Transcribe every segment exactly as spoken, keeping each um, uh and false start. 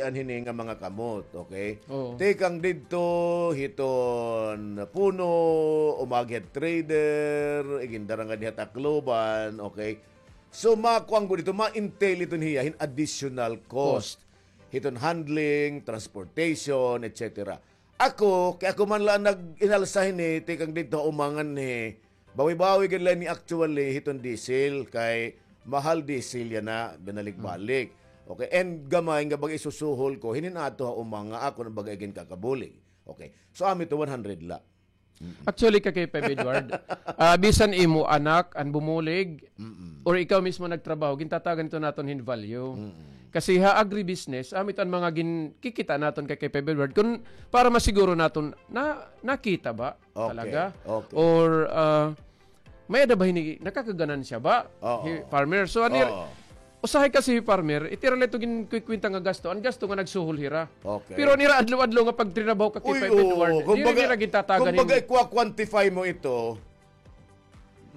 an hini nga mga kamot, okay? Oo. Tikang didto hiton Puno, umagi ha trader, igindara nga diha Tacloban, okay? So, makuan gud ito, ma-entail ito niya hin additional cost. Cost. Hiton handling, transportation, et cetera. Ako, kay ako man la nag-inalsa hini, tikang didto ha uma nganhi, bawi-bawi gud la ini actually hiton diesel, kay mahal diesel yana, binalik-balik. Okay, and gamay nga baga isusuhol ko, hinin ato ha uma nga ako na baga iginkakabulig. Okay, so amo ito one hundred la. Mm-mm. Actually, Kakay Feb Edward, ah, bisan imo anak an bumulig, mm-mm, or ikaw mismo nagtrabaho, gintatagan ito naton hin value. Mm-mm. Kasi ha agribusiness, amo ito an mga gin-, kikita naton, Kakay Feb Edward, kun para masiguro naton na nakita ba, okay, talaga? Okay. Or, ah, may-ada ba hini, nakakaganansya ba? Oo. Hi farmer. So, ano, oo, usahay kasi hi farmer, iti ra la ito ginkukwenta nga gasto, an gasto nga nagsuhol hira. Okay. Pero an ira adlaw-adlaw nga pagtrinabaho, Kakay Feb Edward, diri nira gintatagan hin, kumbaga, i-quantify mo ito,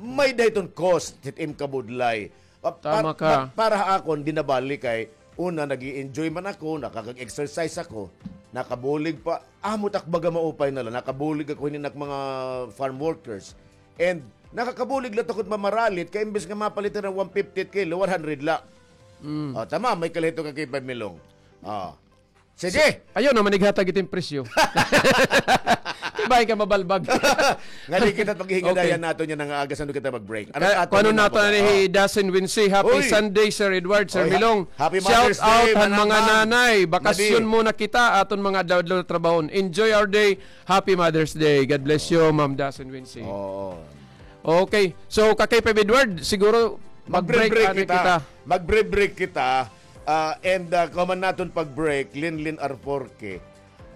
may-ada hiton cost hit im kabudlay. Pa-, pa-, tama ka. Pa-, para ha akon, di na bali kay una, nag-i-enjoy man ako, nakakag-exercise ako, nakabulig pa. Amo it ak baga maupay na la, nakabulig ako hinin ak mga farm workers. And nakakabulig la it ak mamaralit, kay imbes nga mapalit hira hin one fifty kilo, one hundred la. Mm. O, tama, may kalahito ka kay Pamilong. O. Sige. Ayaw na man ighatag iton presyo. Kay bangin ka mabalbag. Ngadi kita paghingadayan naton yana nga aga, san-o kita mag-break. Ano, kay, aton kuno naton ni hi Dasen Wincy. Happy Sunday, Sir Edward, Sir Milong. Happy Mother's Day, shout out han mga nanay. Bakasyon muna kita, aton mga adlaw-adlaw nga trabahon. Enjoy our day. Happy Mother's Day. God bless you, Ma'am Dasen Wincy. Oo. Okay. So, Kakay Feb Edward, siguro mag-break kita. Mag-break kita. Ah, and, ah, kahuman naton pag-break, Linlin Arforque.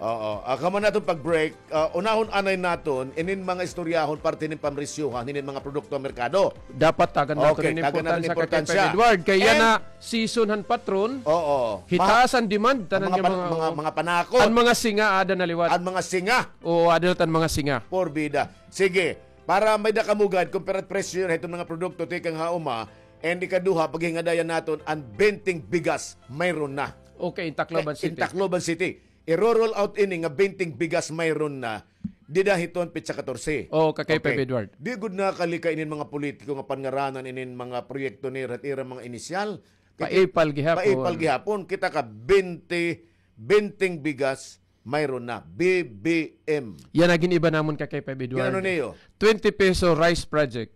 Oo. Ah, kahuman naton pag-break, ah, unahon anay naton inin mga istoryahon parte hinin pamresyohan hinin mga produkto ha merkado. Dapat tagan naton inin importansya, Kakay Feb Edward. Kay yana season han patron. Oo. Hitaas an demand, tanan nga mga, mga, mga panakot. An mga singa, aada na liwat. An mga singa. Oo, aada na an mga singa. Porbida. Sige. Para may-ada kamo gad, compare presyo hiton mga produkto tikang ha uma, and ikaduha, paghingadayan naton an benteng bigas, mayroon na. Okay, in Tacloban City. In Tacloban City. Iro-roll out ini nga benteng bigas, mayroon na. Dida hiton petsa katorse. Oo, Kakay Feb Edward. Di gud nakalika inin mga politiko nga pangaranan inin mga proyekto nira, ira mga inisyal. Paipal gihapon. Paipal gihapon. Kita ka, bente, benteng bigas, mayroon na, B B M. Yana gin-iba namon, Kakay Feb Edward. Ginano niyo? Twenty peso rice project.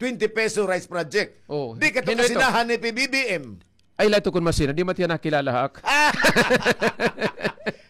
Twenty peso rice project. Oh, di kato kasinahan ni P B B M. Ay, la ito kun masina, di man hiya nakilala ha ak.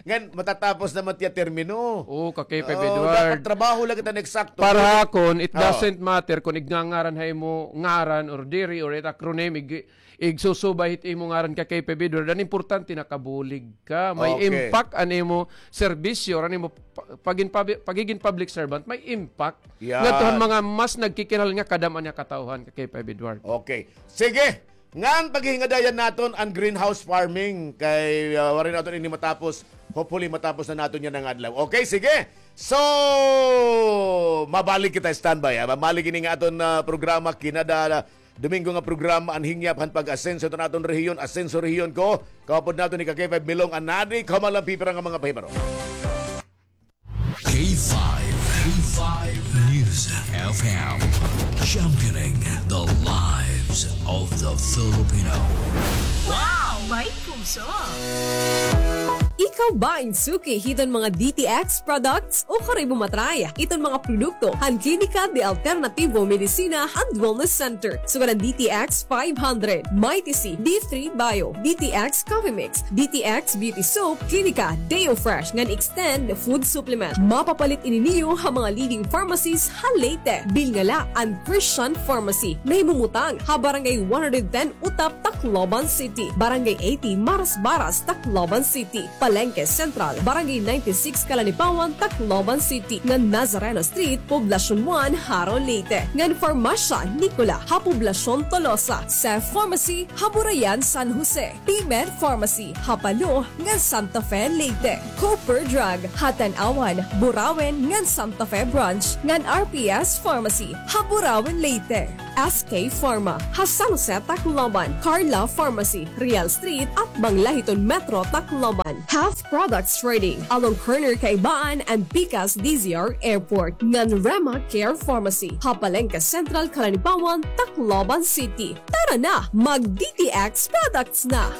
Ngan, matatapos naman hiya termino. Oo, Kakay Feb Edward. Dapat trabaho la kita na eksakto. Para ha akon, it doesn't matter kun igngangaran ha imo ngaran or diri, or it acronym, ig-, igsusubay hit imo ngaran, Kakay Feb Edward. An importante, nakabulig ka. May impact an imo serbisyo, an imo pa-, pagin-, pabi-, pagigin public servant, may impact. Yan. Ngadto han mga mas nagkikinahanglan nga kadam-an nga katawhan, Kakay Feb Edward. Okay. Sige. Ngan paghingadayan naton an greenhouse farming kay, ah, waray naton ini matapos. Hopefully, matapos na naton yana nga adlaw. Okay, sige. So, mabalik kita, standby, ha. Mabalik ini nga aton, ah, programa, kinada Domingo nga programa, an hingyap han pag-asenso hiton aton rehiyon, Asenso Rehiyon Ko. Kaupod naton ni Kakay Feb Milong, an nadi, kahuman la an pipira nga mga pahibaro. K five, K five News F M, championing the lives of the Filipino. Wow! May puso! Ikaw ba in suki hiton mga D T X products? O kari mo matry iton mga produkto han Klinika de Alternativo Medicina and Wellness Center. Sugad an D T X five hundred, Mighty C, D three Bio, D T X Coffee Mix, D T X Beauty Soap, Klinika Deo Fresh ngan Extend Food Supplement. Mapapalit ini niyo ha mga leading pharmacies ha Leyte. Bilnga la an Christian Pharmacy, nahimumutang ha Barangay one hundred ten Utap, Tacloban City, Barangay eighty Marasbaras, Tacloban City, Palengke Central, Barangay ninety-six Calanipawan, Tacloban City, ngan Nazareno Street, Poblacion one, Jaro, Leyte, ngan Farmacia Nicola ha Poblacion Tolosa, Seth Pharmacy ha Burayan, San Jose, P-Med Pharmacy ha Palo ngan Santa Fe, Leyte, Cooper Drug ha Tanauan, Burauen ngan Santa Fe Branch, ngan R P S Pharmacy ha Burauen, Leyte. S K Pharma, ha San Jose, Tacloban, Carla Pharmacy, Real Street, atbang la hiton Metro, Tacloban. Have products ready along corner Kaibaan and Pikas D Z R Airport, ngan Rema Care Pharmacy, ha Palengke Central, Calanibaon, Tacloban City. Tara na, mag D T X products na!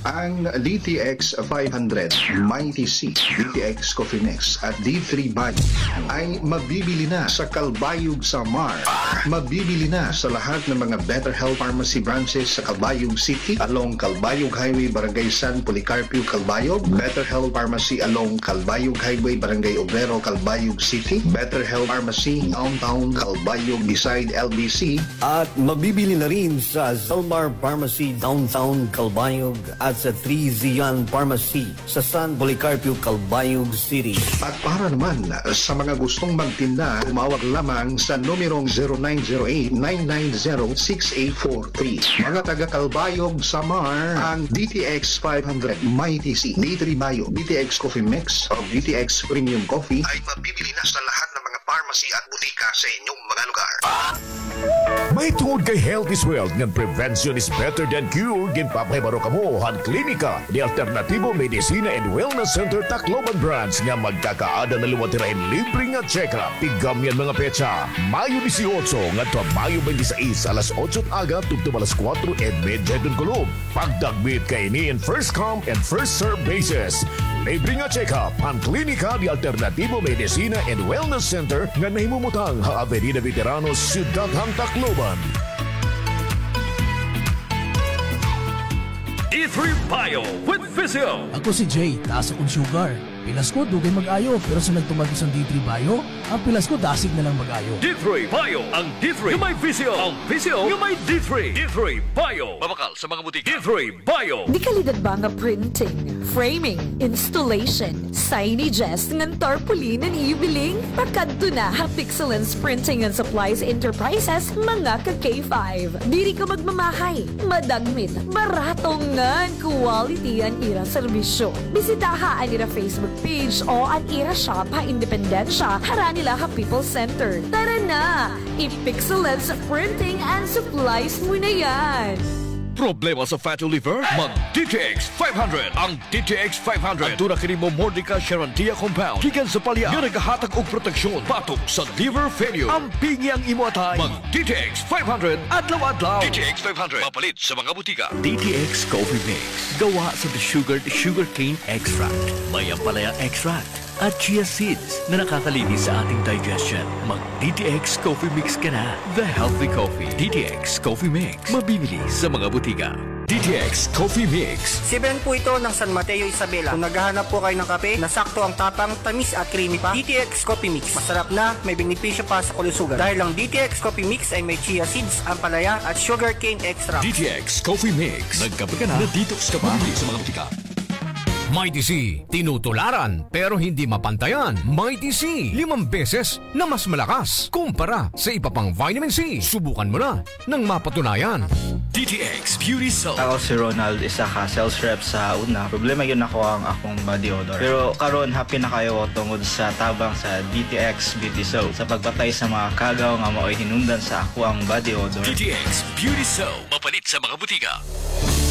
Ang D T X five hundred, Mighty C, D T X Coffee Mix at D three Bio ay mabibili na sa Calbayog, Samar. Mabibili na sa lahat ng mga Better Health Pharmacy branches sa Calbayog City, along Calbayog Highway, Barangay San Policarpio, Calbayog, Better Health Pharmacy along Calbayog Highway, Barangay Obrero, Calbayog City, Better Health Pharmacy Downtown Calbayog beside L B C, at mabibili na rin sa Zalmar Pharmacy Downtown Calbayog at sa Three Zion Pharmacy sa San Policarpio, Calbayog City. At para naman sa mga gustong magtinda, tumawag lamang sa numerong zero nine zero eight nine nine zero six eight four three. Mga taga Calbayog, Samar, ang D T X five hundred, Mighty C, D three Bio, D T X Coffee Mix, o D T X Premium Coffee ay mabibili na sa lahat ng mga pharmacy at butika sa inyong mga lugar. Mahitungod kay health is wealth ngan prevention is better than cure, ginpapahibaro kamo han Klinika de Alternativo Medicina and Wellness Center Tacloban Branch nga magkakaada na liwat hira hin libre nga check-up. Tigamyan mga petsa, Mayo dieciocho ngadto ha Mayo twenty-six, alas otso aga tubtob alas kuwatro y medya hiton kulop. Pagdagmit kay ini in first come and first serve basis. Libre nga check-up han Klinika de Alternativo Medicina and Wellness Center nga nahimumutang ha Avenida Veteranos, Syudad han Tacloban. D three Bio with Physio. Ako si Jay, taas akon sugar. Pilas ko, dugay mag-ayo, pero sa nagtuman ko san D three Bio, an pilas ko dasig na lang mag-ayo. D three Bio, ang D three nga may Physio, ang Physio nga may D three. D three Bio. Mabakal sa mga butika. D three Bio. Dekalidad ba nga printing, framing, installation, signages, ngan tarpaulin an iyo biling? Pakadto na ha Pixelens Printing and Supplies Enterprises, mga ka-K five. Diri ka magmamahay, madagmit, barato ngan quality an ira serbisyo. Bisitaha an ira Facebook page o an ira shop ha Independencia, harani la ha People's Center. Tara na! I-Pixelens Printing and Supplies mo na yan! Problema sa fatty liver? Mag D T X five hundred. Ang D T X five hundred. Aduna kini Momordica charantia compound gikan sa palya nga nagahatag og proteksyon batok sa liver failure. Ampingi ang imo atay. Mag D T X five hundred adlaw-adlaw. D T X five hundred. Mapalit sa mga butika. D T X Coffee Mix. Gawa sa desugared sugarcane extract. May ampalaya extract at chia seeds na nakakalinis sa ating digestion. Mag D T X Coffee Mix ka na. The healthy coffee. D T X Coffee Mix. Mabibili sa mga butika. D T X Coffee Mix. Si Ben po ito ng San Mateo, Isabela. Kung naghahanap po kayo ng kape na sakto ang tapang, tamis at creamy pa, D T X Coffee Mix. Masarap na, may benepisyo pa sa kalusugan. Dahil ang D T X Coffee Mix ay may chia seeds, ampalaya at sugarcane extract. D T X Coffee Mix. Nagkape ka na, na-detox ka pa. Mabibili sa mga butika. Mighty C, tinutularan pero hindi mapantayan. Mighty C, limang beses na mas malakas kumpara sa iba pang vitamin C. Subukan mo na nang mapatunayan. D T X Beauty Soap. Ako si Ronald, isa ka sales rep sa una. Problema gyud nako ang akong body odor. Pero karon, happy na kaayo ko tungod sa tabang sa D T X Beauty Soap sa pagpatay sa mga kagaw nga maoy hinungdan sa ako ang body odor. D T X Beauty Soap. Mapalit sa mga butika.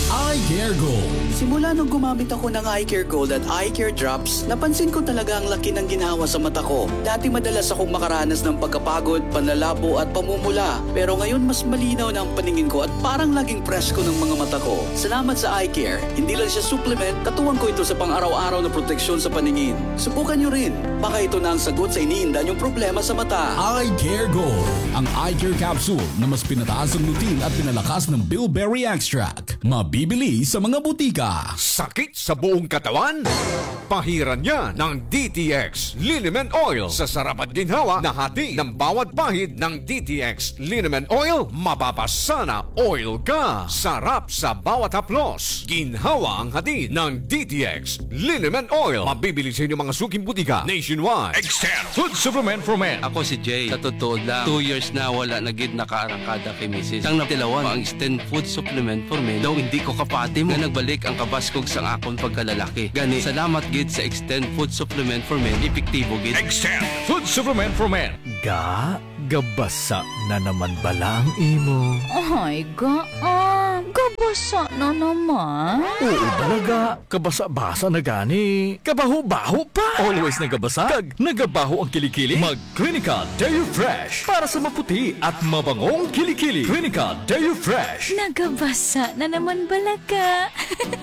Eye Care Gold. Simula nung gumamit ako ng Eye Care Gold at Eye Care Drops, napansin ko talaga ang laki ng ginhawa sa mata ko. Dati madalas akong makaranas ng pagkapagod, panlalabo at pamumula. Pero ngayon mas malinaw na ang paningin ko at parang laging presko ng mga mata ko. Salamat sa Eye Care. Hindi lang siya supplement, katuwang ko ito sa pang-araw-araw na proteksyon sa paningin. Subukan niyo rin. Baka ito na ang sagot sa iniinda niyong problema sa mata. Eye Care Gold. Ang Eye Care Capsule na mas pinataas ang lutein at pinalakas ng bilberry extract. Mabibili sa mga butika. Sakit sa buong katawan? Pahiran niya ng D T X Liniment Oil. Sa sarap at ginhawa na hatid ng bawat pahid ng D T X Liniment Oil, mapapasana oil ka. Sarap sa bawat haplos. Ginhawa ang hatid ng D T X Liniment Oil. Mabibili sa inyong mga suking butika nationwide. Extend Food Supplement for Men. Ako si Jay. Sa totoo lang, two years na wala na gid nakaarangkada kay misis. Tang natilawan, ang Extend Food Supplement for Men daw hindi ko kapati mo. Nga nagbalik ang Kabaskog sang akon pagkalalaki. Gani, salamat gid sa Extend Food Supplement for Men. Epektibo gid. Extend Food Supplement for Men. Ga, gabasa na naman bala ang imo? Ay, ga, ah, gabasa na naman? Oo bala, ga. Kabasa-basa na gani. Kabaho-baho pa. Always nagabasa, kag nagabaho ang kilikili? Mag Clinica Deo Fresh para sa maputi at mabangong kilikili. Clinica Deo Fresh. Nagabasa na naman bala ka.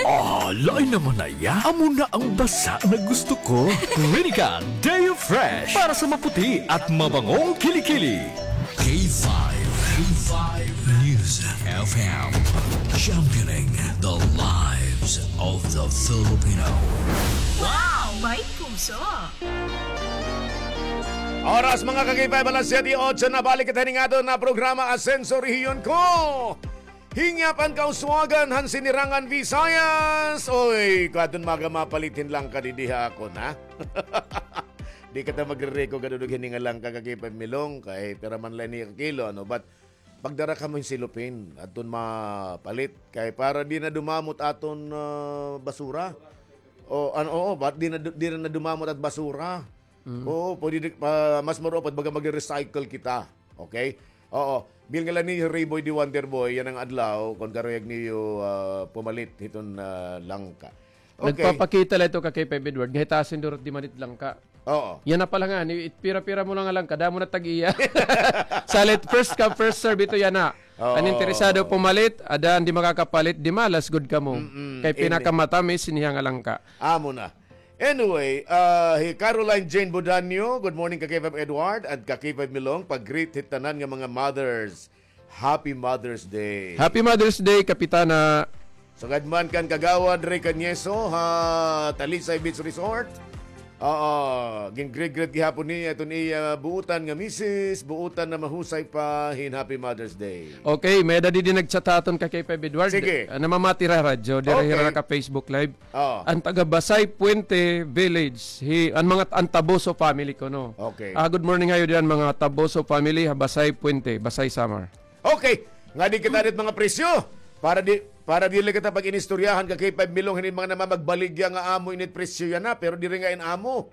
Ah, lain naman na iya. Amo na ang basa na gusto ko. Clinica Deo Fresh para sa maputi at mabangong kilikili. K five, K five News F M, championing the lives of the Filipino. Wow! May puso! Oras, mga ka-K five, alas siyete otso na. Balik kita hining aton na programa, Asenso Rehiyon Ko. Hingyap an kauswagan han Sinirangan Visayas. Oy, kadton maga mapalit hin langka didi ha akon, ha? Di kita magre-reco kadudog hini nga langka, ka-K five Milong, kay pira man la ini ka kilo, ano? But pagdara kamo hin silupin, adton mapalit. Kay para di na dumamot aton, ah, basura. O, ano, oo, but di na, di na dumamot at basura. Mm. Oo, pwede di, pa, mas maupay baga magre-recycle kita. Okay? Oo. Bilngan la niyo Rayboy the Wonder Boy, yana nga adlaw, kon karuyag niyo, ah, pumalit hiton, ah, langka. Okay. Nagpapakita la ito ka K five Edward, nga hitasin durot di man it langka. Oo. Yana pa la ngani, it pira-pira mo la nga langka, damo na tag-iya. Salit, first come, first serve ito yana. Oo. An interesado pumalit, ada an di makakapalit, di malas gud kamo. Mm-mm. Kay pinakamatamis niya nga langka. Amo na. Anyway, ah, hi Caroline Jane Bodanio, good morning ka K five Edward and ka K five Milong, pag-greet hit tanan nga mga mothers. Happy Mother's Day. Happy Mother's Day, Kapitana. Sugad man kan Kagawad Ray Cañeso ha Talisay Beach Resort. Oo, gin-greet-greet gihapon niya iton iya buotan nga misis, buotan na mahusay pa hin Happy Mother's Day. Okay, may-ada didi nag-chat ha aton ka K five Edward. Sige. Ah, namamati hira radyo, diri hira ka Facebook Live. Oo. An taga Basay Puente Village, hi, an mga, an Taboso family kuno. Okay. Ah, good morning ha iyo diyan, mga Taboso family, ha Basay Puente, Basay Samar. Okay. Ngadi kita dit mga presyo. Para di, para dili kita pag-inistoryahan ka K five Milong, hini mga namamagbaligya nga amo init presyo yana, pero diri ngay-an amo.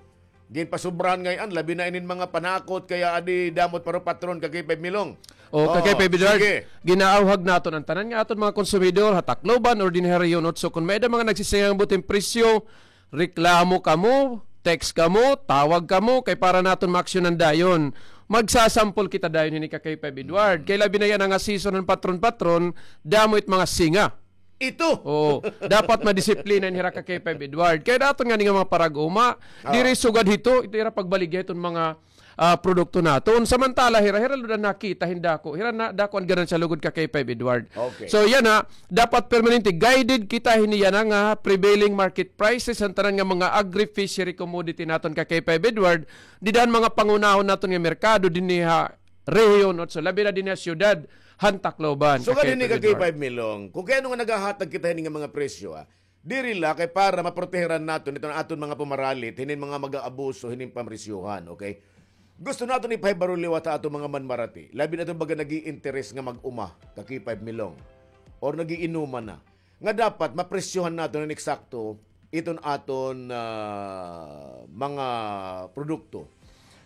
Ginpasobrahan ngay-an, labi na inin mga panakot, kay adi damo it parupatron ka K five Milong. O, ka K five Edward, sige. Ginaawhag naton an tanan nga aton mga konsumidor, ha Tacloban or dinhi ha Rehiyon Otso. Kon may-ada mga nagsisingang buting presyo, reklamo kamo, text kamo, tawag kamo, kay para naton maaksyonan dayon. Magsasampol kita dayon hini ka K five Edward. Kay labi na yana nga season han patron-patron, damo it mga singa. Ito. Oo. Dapat madisiplina ini hira ka K five Edward. Kay daton ngani nga mga parag-uma, diri sugad hito, ito ira pagbaligya hiton mga, ah, produkto naton. Samantala hira, hira la nakita hin dako. Hira na dako an ganansya lugod ka K five Edward. Okay. So yana, dapat permanente guided kita hini yana nga prevailing market prices han tanan nga mga agri-fishery commodity naton ka K five Edward. Dida han mga pangunahon naton nga merkado dinhi ha Rehiyon Otso, labi na dinhi ha siyudad han Tacloban. Sugad hini ka K five Milong, kon kay ano nga nagahatag kita hini nga mga presyo, ah, diri la kay para maproteheran naton iton aton mga pumaralit hinin mga mag-aabuso hinin pamresyohan, okay? Gusto naton ipahibaro liwat ha aton mga manmarati, labi na iton baga nag-iinteres nga mag-uma ka K five Milong or nag-iinuman na. Nga dapat mapresyohan naton hin eksakto iton aton, ah, mga produkto.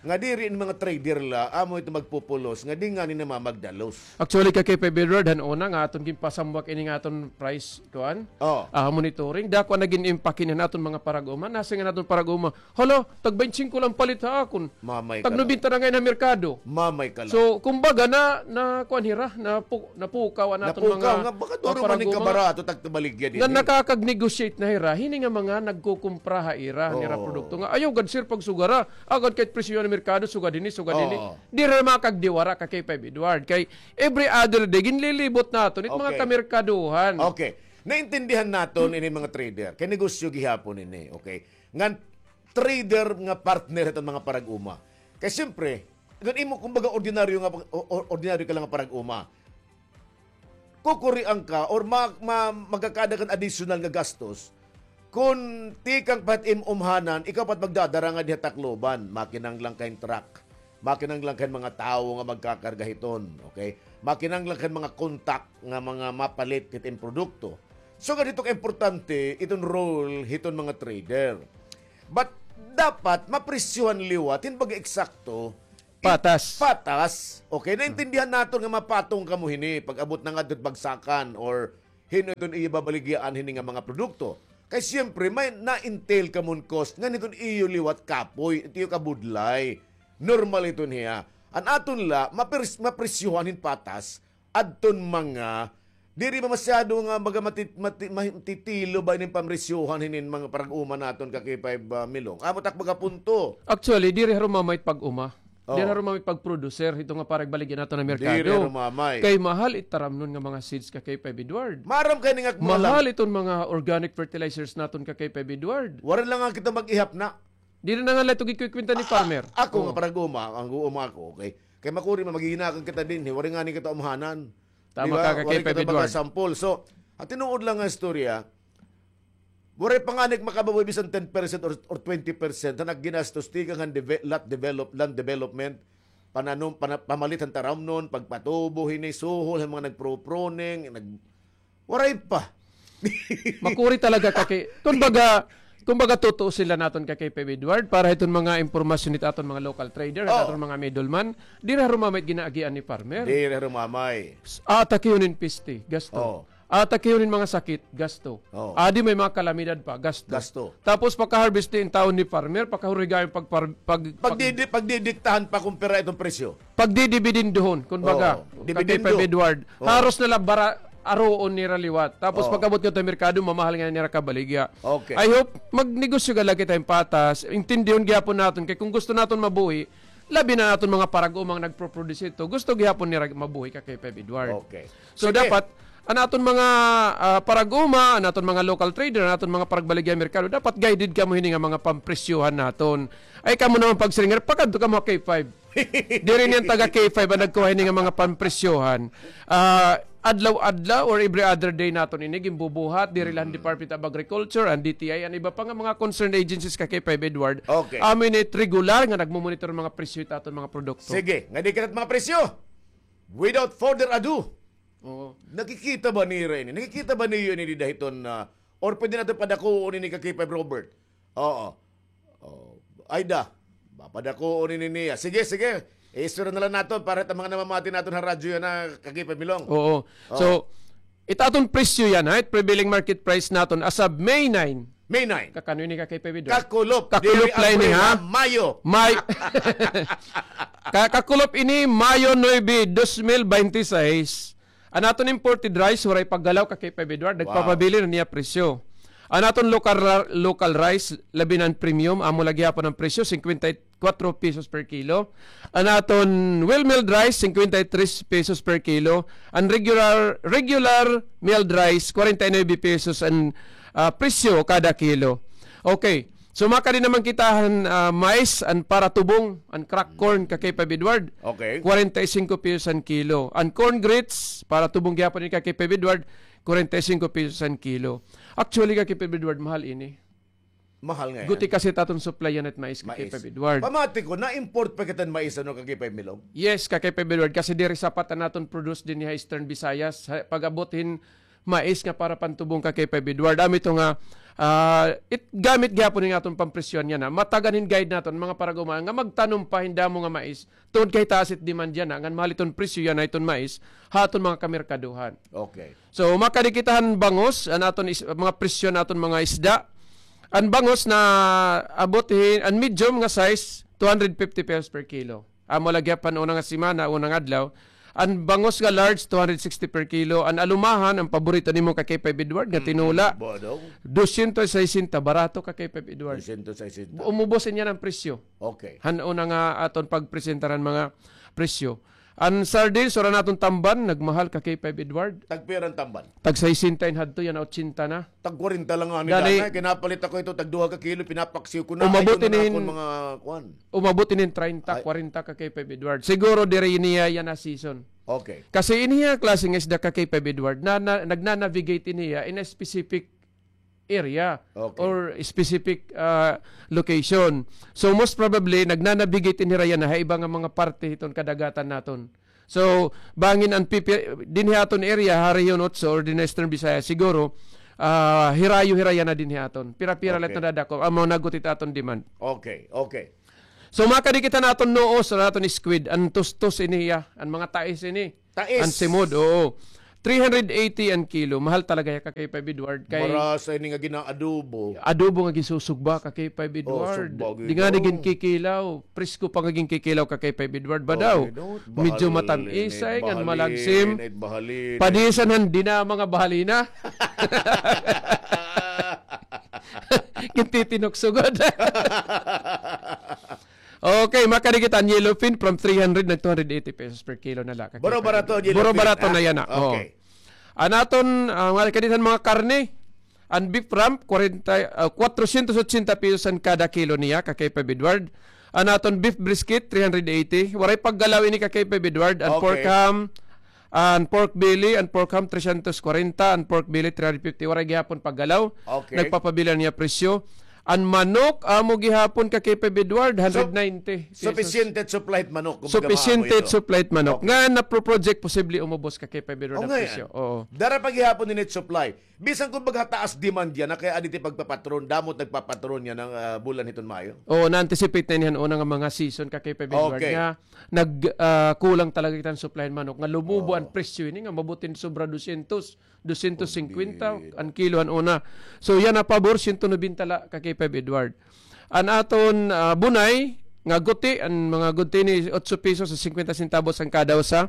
Nga diri in mga trader la amo ito magpupulos nga di ngani namamagdalos. Actually, ka K five Edward, han una nga aton ginpasamwak ini nga aton price, kuan? Oh. Ah, monitoring. Dako an nagin impact hini han aton mga parag-uma. Nasiring an aton parag-uma, "Hala, tag baynte singko la an palit ha akon. Mamay ka la. Tag nobenta na ngay-an ha merkado." Mamay ka la. So, kumbaga, na, na, kuan hira, napu-, napukaw an aton mga, nga, baka duro man ni kabarato, tagtubaligya dinhi. Nga nakakag-negotiate na hira, hini nga mga nagkukumpra ha ira, nira produkto nga, "Ayaw gad, sir, pagsugara. Agad kay presyo han merkado, sugad hini, sugad hini." Oo. Diri makagdiwara ka K five Edward. Kay every other day, ginlilibot naton it mga kamerkaduhan. Okay. Naintindihan naton ini mga trader. Kay negosyo gihapon ini, okay? Ngan trader nga partner hiton mga parag-uma. Kay siyempre, ngan imo, kumbaga, ordinaryo nga pag-, o-, o-, ordinaryo ka la nga parag-uma. Kukurian ka or ma-, ma-, magkakaada kan additional nga gastos kon tikang pa hit im umhanan, ikaw pa it magdadara ngadi ha Tacloban, makinahanglan ka hin truck. Makinahanglan ka hin mga tawo nga magkakarga hiton, okay? Makinahanglan ka hin mga kontak nga mga mapalit hit im produkto. So, ganito ka importante iton role hiton mga trader. But dapat mapresyohan liwat hin baga eksakto. Patas. Patas. Okay, naintindihan naton nga mapatong kamo hini pag-abot na ngadto bagsakan or hin-o iton iyo babaligyaan hini nga mga produkto. Kay siyempre, may na-entail kamo hin cost ngan hiton iyo liwat kapoy, it iyo kabudlay. Normal iton hiya. An aton la, mapres-, mapresyohan hin patas, adton mga, diri ba masyado nga baga mati-, mati-, matitilo ba inin pamresyohan hinin mga parag-uma naton ka K five, ah, Milong? Amo tak baga punto. Actually, diri harumamay pag-uma. Oh. Diri harumamay pag-producer, hito nga parag baligya naton nga merkado. Diri harumamay. Kay mahal it taramnon nga mga seeds ka K five Edward. Maaram kay ni nga mahal iton mga organic fertilizers naton ka K five Edward. Waray la nga kita mag-ihap na. Diri na nga la ito gikukwenta ni farmer. Ako nga parag-uma, ang guuma ako, okay? Kay makuri man, maghihinakan kita dinhi, waray ngani kita umhanan. Tama ka, ka K five Edward. Waray kita baga sample. So, an tinuod la nga istorya, waray pa ngani makababoy bisan ten percent or, or twenty percent han ginastos tikang han deve-, lot develop-, land development, pananom, pana-, pamalit han taramnon, pagpatubo hini, suhol han mga nagpro-pruning, nag-, Waray pa. Makuri talaga ka K-, kumbaga, kumbaga tutuo sila naton ka K five Edward para hiton mga impormasyon hit aton mga local trader, hit aton mga middleman, diri harumamay it ginaagian ni farmer. Diri harumamay. Atakihon hin peste, gasto. Oh. Atakihon hin mga sakit, gasto. Oh. Adi may mga kalamidad pa, gasto. Gasto. Tapos pagka-harvest ni intawon ni farmer, pakahurigayon pag-, pag-, pag-, pagdidi-, pagdidiktahan pa kung pira iton presyo. Pagdidibidendohon, kumbaga, ka K five Edward. Haros na la bara-, aruon nira liwat. Tapos pag-abot ngadto ha merkado, mamahal ngani nira kabaligya. Okay. I hope magnegosyo gad la kita hin patas, intindihon gihapon naton kay kung gusto naton mabuhi, labi na an aton mga parag-uma nga nagpo-produce hito, gusto gihapon nira mabuhi ka K five Edward. Okay. So dapat an aton mga, ah, parag-uma, an aton mga local trader, an aton mga paragbaligya merkado, dapat guided kamo hini nga mga pampresyohan naton. Ay kamo naman pagsiring, pakadto kamo ha K five. Diri niyan taga K five an nagkuha hini nga mga pampresyohan. Ah, adlaw-adlaw or every other day naton ini ginbubuhat, diri la han Department of Agriculture, an D T I, an iba pa nga mga concerned agencies ka K five Edward. Okay. Amo ini it regular nga nagmomonitor mga presyo hit aton mga produkto. Sige, ngadi kita hit mga presyo. Without further ado, Oo. Nakikita ba nira ini? Nakikita ba niyo ini dida hiton, ah, or pwede naton padakuon ini ka K five Robert? Oo. Oh, ay da. Papadakuon ini niya. Sige, sige. Istorya na la naton para hit mga namamati naton ha radyo yana ka K five Milong. Oo. So, it aton presyo yana, ha, it prevailing market price naton as of May nine. May nine. Kakano ini ka K five Edward? Kakulop. Kakulop la ini, ha? Mayo. May-, ka-, kakulop ini, Mayo nuebe, dos mil baynte sais. An aton imported rice, waray paggalaw ka K five Edward. Nagpapabilin an iya presyo. An aton local ra-, local rice, labi na an premium, amo la gihapon an presyo, singkwenta y kuwatro pesos per kilo. An aton well milled rice, singkwenta y tres pesos per kilo. An regular, regular milled rice, kwarenta y nuebe pesos an, ah, presyo kada kilo. Okay. So, makadi naman kita han, ah, mais, an para tubong, an crack corn, ka K five Edward. Okay. Kwarenta y singko pesos an kilo. An corn grits, para tubong gihapon ini ka K five Edward, kwarenta y singko pesos an kilo. Actually, ka K five Edward, mahal ini. Mahal ngay-an. Guti kasi it aton supply yana hit mais ka K five Edward. Pamati ko, na-import pa kita hin mais, ano, ka K five Milong? Yes, ka K five Edward, kasi diri sapat an aton produce dinhi ha Eastern Visayas. Ha, pag-abot hin mais nga para pantubong ka K five Edward. Amo ito nga, ah, it, gamit gihapon hin aton pampresyohan yana. Matagan hin guide naton, mga parag-uma, nga magtanom pa hin damo nga mais. Tungod kay taas it demand yana, ngan mahal iton presyo yana hiton mais, ha aton mga kamerkaduhan. Okay. So, makadi kita han bangus, an aton is-, mga presyo han aton mga isda. An bangus naabot hin, an medium nga size, two hundred fifty pesos per kilo. Amo la gihap han una nga semana, una nga adlaw. An bangus nga large, two hundred sixty per kilo. An alumahan, an paborito nimo ka K five Edward, nga tinola, dosyentos sesenta, barato ka K five Edward. Dosyentos sesenta. Umubos niyan an presyo. Okay. Han una nga aton pagpresentar han mga presyo. An sardines, wara naton tamban, nagmahal ka K five Edward. Tagpira an tamban? Tag sesenta in hadto, yana otsenta na. Tag kwarenta la ngani, dali. Kinapalit ako ito, tag duha ka kilo, pinapaksiw ko na. Umabot inin, mga kuan. Umabot inin treinta, kwarenta ka K five Edward. Siguro diri niya yana season. Okay. Kasi iniya klase nga isda ka K five Edward, na, na, nagnanavigate iniya in a specific area or specific, ah, location. So, most probably, nagnanavigate ini hira yana ha iba nga mga parte hiton kadagatan naton. So, bangin an pipi-, dinhi ha aton area, ha Region Otso or dinhi ha Eastern Visayas, siguro, ah, hirayo-hirayo na dinhi aton. Pira-pira la it nadadako. Amo na gud it aton demand. Okay, okay. So, makadikit an aton nuos, an aton squid, an tustos ini hiya, an mga tais ini. Tais. An simod, oo. Three hundred eighty an kilo. Mahal talaga hiya ka K five Edward. Kay marasa ini nga gina-adobo. Adobo nga ginsusugba ka K five Edward. Di nga na ginkikilaw. Presko pa nga ginkikilaw ka K five Edward ba daw? Medyo matam-isay, ngan malagsim. Padisan han dinama nga bahalina. Gintitinukso gud. Okay, makadikit an yellowfin from three hundred nag two hundred eighty pesos per kilo na la. Buro barato an yellowfin. Buro barato na yana. Okay. An aton, ah, mga kadikit han mga karne, an beef rump, kwarenta, ah, kwatrosyentos otsenta pesos an kada kilo niya, ka K five Edward. An aton beef brisket, three hundred eighty. Waray paggalaw ini ka K five Edward. An pork ham, an pork belly, an pork ham, tresyentos kwarenta, an pork belly, three hundred fifty. Waray gihapon paggalaw. Okay. Nagpapabila niya presyo. An manok, amo gihapon ka K five Edward, hundred ninety pesos. Sufficient supply it manok, kumbaga. Sufficient supply it manok. Okay. Nga, napro-project, posible umubos ka K five Edward an presyo. Oo. Dara pa gihapon ini supply. Bisan kumbaga taas demand yana, kay adi it pagpapatron, damo it nagpapatron yana nga, ah, bulan hiton Mayo. Oo, na-anticipate na ini han una nga mga season ka K five Edward nga nag, ah, kulang talaga kita han supply han manok, nga lumubo an presyo ini nga mabutin sobra dosyentos. Dosyentos singkwenta an kilo han una. So, yana pabor, siyento nobenta la ka K five Edward. An aton, ah, bunay, nga guti, an mga guti ni otso pesos singkwenta centavos an kada usa.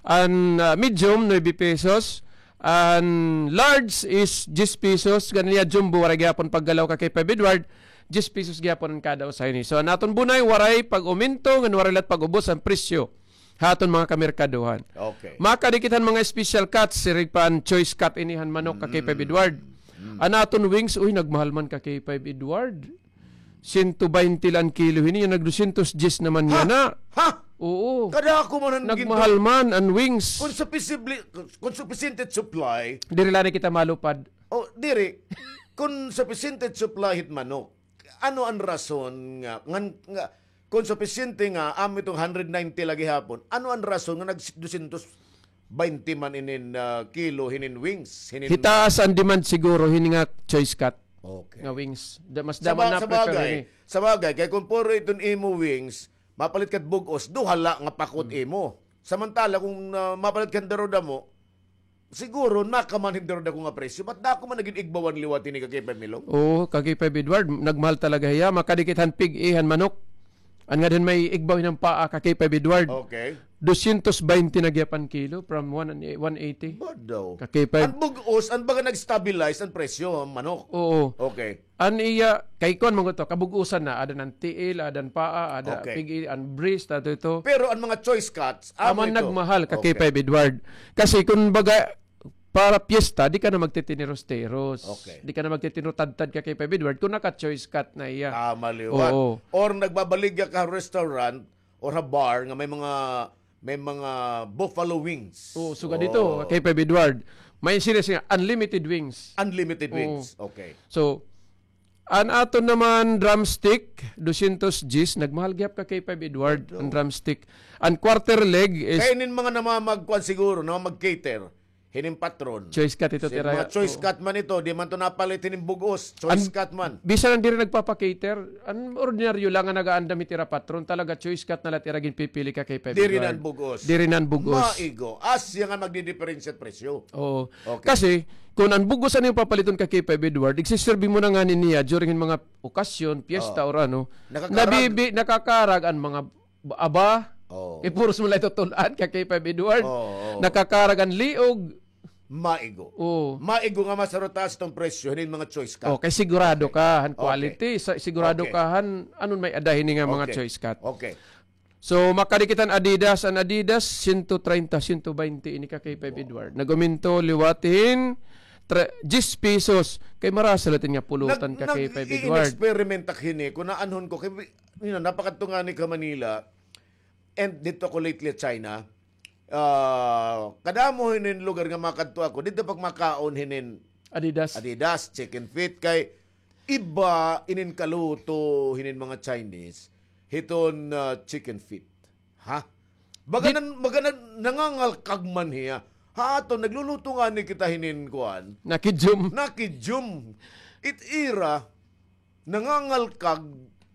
An, ah, medium, nuebe pesos. An large is diyes pesos. Ganiya jumbo, waray gihapon paggalaw ka K five Edward. Diyes pesos gihapon an kada usa ini. So, an aton bunay, waray pag-umento, ngan waray la it pag-ubos an presyo ha aton mga kamerkaduhan. Okay. Makadikit han mga special cuts, siring pa an choice cut ini han manok ka K five Edward. An aton wings, uy, nagmahal man ka K five Edward. Siyento baynte la an kilo hini, nag dosyentos diyes naman yana. Ha? Oo. Kadako man an ginto. Nagmahal man an wings. Kon supisibli-, kon supisyente it supply. Diri la na kita malupad. Oh, diri. Kon supisyente it supply hit manok, ano an rason nga, ngan, nga, kon supisyente nga, amo iton hundred ninety la gihapon, ano an rason nga nag dosyentos baynte man inin, ah, kilo, hinin wings, hinin. Hitaas an demand siguro, hini nga choice cut. Okay. Nga wings. Da-, mas damo na prefer ini. Sa bagay, kay kon puro iton imo wings, mapalit ka bug-os, duha la nga pakot imo. Samantala, kung, ah, mapalit ka daro-damo, siguro, nakamanhin daro dako nga presyo. Ba't dako man nagin igbawan liwat ini ka K five Milong? Oo, ka K five Edward, nagmahal talaga hiya. Makadikit han pig-i han manok. An ngada han may igbaw hinan paa ka K five Edward. Okay. Dosyentos baynte na gihap an kilo from one, one eighty. Badaw. Ka K five. An bug-os, an baga nag-stabilize an presyo han manok. Oo. Okay. An iya, kay kuan man gud to, kabug-osan na, ada nan tiil, ada an paa, ada pig-i, an breast, ato ito. Pero an mga choice cuts, amo ito. Amo an nagmahal ka K five Edward. Kasi kun baga, para piyesta, di ka na magtitiniros-tiros. Okay. Di ka na magtitiniro-tadtad ka K five Edward kun naka-choice cut na iya. Tama liwat. Oo. Or nagbabaligya ka ha restaurant or ha bar nga may mga, may mga buffalo wings. Oo, sugad dito, K five Edward. May sila siya, unlimited wings. Unlimited wings. Okay. So, an aton naman drumstick, dosyentos diyes, nagmahal gihap ka K five Edward, an drumstick. An quarter leg is. Kay inin mga namamagkuan siguro, namamag-cater, hinin patron. Choice cut ito, tira. Mga choice cut man ito, di man to napalit hinin bug-os, choice cut man. Bisan an diri nagpapa-cater, an ordinaryo la nga nagaandam hit ira patron, talaga choice cut na la it ira ginpipili ka K five Edward. Diri na an bug-os. Diri na an bug-os. Maigo, asya nga magdidiperensiya it presyo. Oo. Okay. Kasi, kun an bug-os an imo papaliton ka K five Edward, igsiserbi mo na ngani niya during hin mga okasyon, piyesta, or ano, nabibi-, nakakarag an mga ba-, aba. Oo. Kay puros mo la ito tul-an ka K five Edward. Oo, oo. Nakakarag an liog. Maigo. Oo. Maigo nga mas taas iton presyo hinin mga choice cut. Oh, kay sigurado ka han quality, sa-, sigurado ka han ano may ada hini nga mga choice cut. Okay. So, makadikit an Adidas, an Adidas, siyento treinta, siyento baynte ini ka K five Edward. Nag-umento liwat hin tre-, diyes pesos. Kay marasa la it iya pulutan ka K five Edward. Nag-i-experiment ak hini, kun aanhon ko, kay, you know, napakadto ngani ka Manila, and didto ako lately China. Ah, kadamo hinin lugar nga makadto ako, didto pagmakaon hinin Adidas. Adidas, chicken feet, kay iba inin kaluto hinin mga Chinese, hiton, ah, chicken feet. Ha? Baga nan-, baga nan-, nangangalkag man hiya. Ha aton, nagluluto ngani kita hinin kuan. Nakidyum. Nakidyum. It ira, nangangalkag,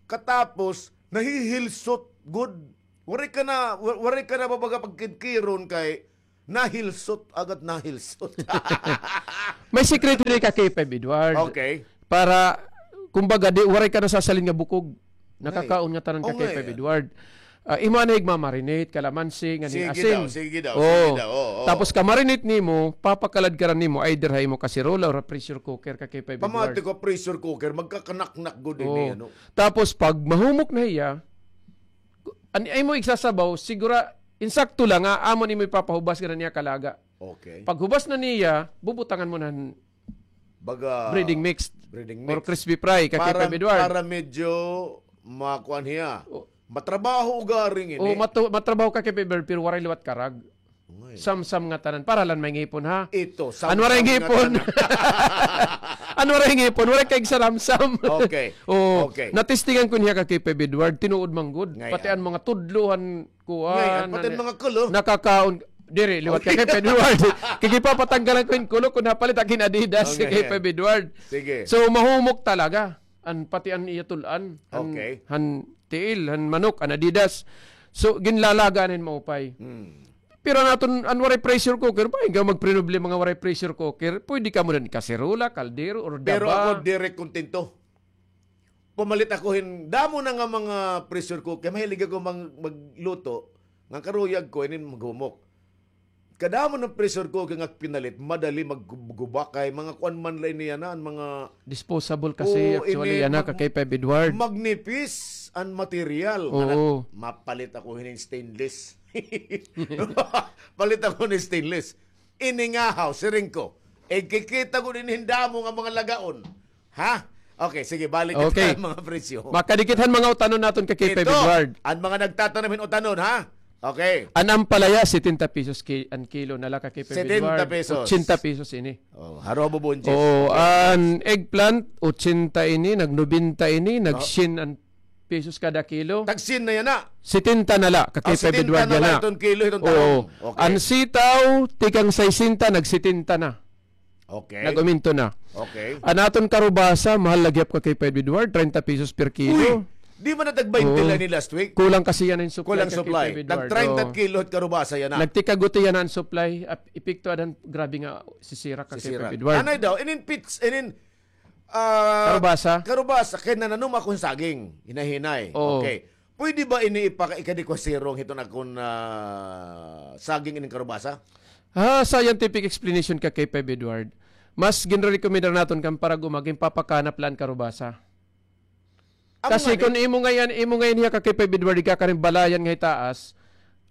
katapos, nahihilsot gud. Waray ka na, wa-, waray ka na babaga pagkidkiron kay nahilsot, agad nahilsot. May sikreto ni ka, K five Edward. Okay. Para, kumbaga, di, waray ka nasasalin nga bukog. Nakakaon nga tanan ka, K five Edward. Ah, imo anay igmamarinate, kalamansi, nga ni asin. Sige daw, sige daw, sige daw, oo. Tapos ka-marinate nimo, papakalad ka ra nimo, either ha imo kasirola or pressure cooker ka, K five Edward. Pamati ko, pressure cooker, magkakanaknak gud ini, ano? Tapos pag mahumok na hiya, an-, imo igsasabaw, sigura, insakto lang, ah, amo nimo ipapahubas ka na niya kalaga. Okay. Paghubas na niya, bubutangan mo na han Baga, breading mix. Breading mix. Or crispy fry, ka, K five Edward. Para medyo makuan hiya. Matrabaho ugaring ini. O, matu-, matrabaho ka, K five Edward, pero waray liwat karag. Samsam nga tanan. Para lang may ngipon, ha? Ito, samsam nga tanan. An waray ngipon. An waray ngipon, waray kay saramsam. Okay. O, okay. Natistingan ko niya ka, K five Edward, tinuod man gud. Pati an mga tudlo han kuan, pati mga kulo. Nakakaon. Diri, liwat ka, K five Edward. Kay gipapatanggalan ko hin kulo kun napalit ak hin Adidas, K five Edward. Sige. So, mahumok talaga. An, pati an iya tul-an. An, han tiil, han manok, an Adidas. So, ginlalaga na hin maupay. Pero an aton, an waray pressure cooker, ba, ikaw magprinoblema nga waray pressure cooker, pwede ka mo din kaserola, kaldero, or daba. Pero ako, diri kontento. Pumalit ako hin damo na nga mga pressure cooker. Mahilig ako mang-, magluto. Nga karuyag ko, inin maghumok. Kadamo nga pressure cooker nga pinalit, madali maggubakay, mga kuan man la ini yana, an mga disposable kasi, actually, yana ka, K five Edward. Magnipis an material. Oo. Mapalit ako hinin stainless. Palit ako hin stainless. Iningahaw, siring ko. Igkikita ko din hin damo nga mga lagaon. Ha? Okay, sige, balik kita han mga presyo. Makadikit han mga utanon naton ka, K five Edward. An mga nagtatanom hin utanon, ha? Okay. An ampalaya, setenta pesos ki-, an kilo na la ka, K five Edward. Setenta pesos. Ochenta pesos ini. O, haro bubunjis. O, an eggplant, ochenta ini, nag-nobenta ini, nag-syen an pesos kada kilo. Tag-syen na yana. Setenta na la, ka, K five Edward, yana. Setenta na la iton kilo, iton talong. Okay. An sitaw, tikang saysenta, nag-setenta na. Okay. Nag-uminto na. Okay. An aton karubasa, mahal la gihap ka, K five Edward, treinta pesos per kilo. Uy! Di ba natag-baynte la ini last week? Kulang kasi yana hin supply ka, K five Edward. Kulang supply. Nag-treinta kilo it karubasa yana. Nagtikaguti yana an supply, ap-, epekto adan, grabe nga sisirak ka, K five Edward. Anay daw, inin pits, inin Ah, karubasa? Karubasa, kay nananom ako hin saging, hinay-hinay. Oo. Okay. Pwede ba ini ipaka-, ikadi ko sirong hiton akon, ah, saging inin karubasa? Ha, scientific explanation ka, K five Edward. Mas ginrerekomendar naton kan parag-uma, ginpapakanap la an karubasa. Kasi kun imo ngay-an, imo ngay-an hiya ka, K five Edward, igkakarin balayan nga hitaas,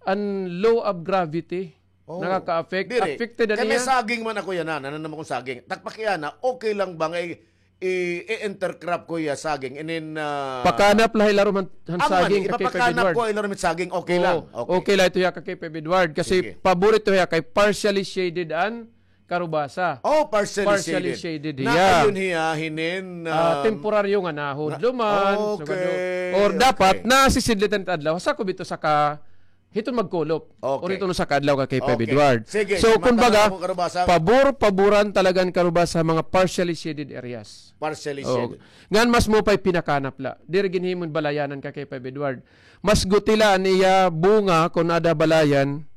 an law of gravity. Oh, nakaka-affect. Diri. Affected an iya. Kay may saging man ako yana, nananom akon saging. Takpak yana, okay lang ba nga i-, i-, i-intercrop ko hiya saging? And then, ah, pakanap la ha ilarom han, han saging, ka, K five Edward. Ipapakanap ko ha ilarom han saging, okay lang. Oo, okay. Okay la ito hiya ka, K five Edward. Kasi pabor ito hiya kay partially shaded an karubasa. Oh, partially shaded. Partially shaded hiya. Nakayon hiya hinin, ah, temporaryo nga nahudlo man. Okay. Or dapat nasisidlitan it adlaw. Sakob ito sa ka Hiton magkulop. Okay. Or hiton usa ka adlaw ka, K five Edward. Sige, so, kumbaga, pabor, paboran talaga an karubasa ha mga partially shaded areas. Partially shaded. Ngan mas maupay pinakanap la. Diri ginhimon balayanan ka, K five Edward. Mas guti la an iya bunga kon aada ha balayan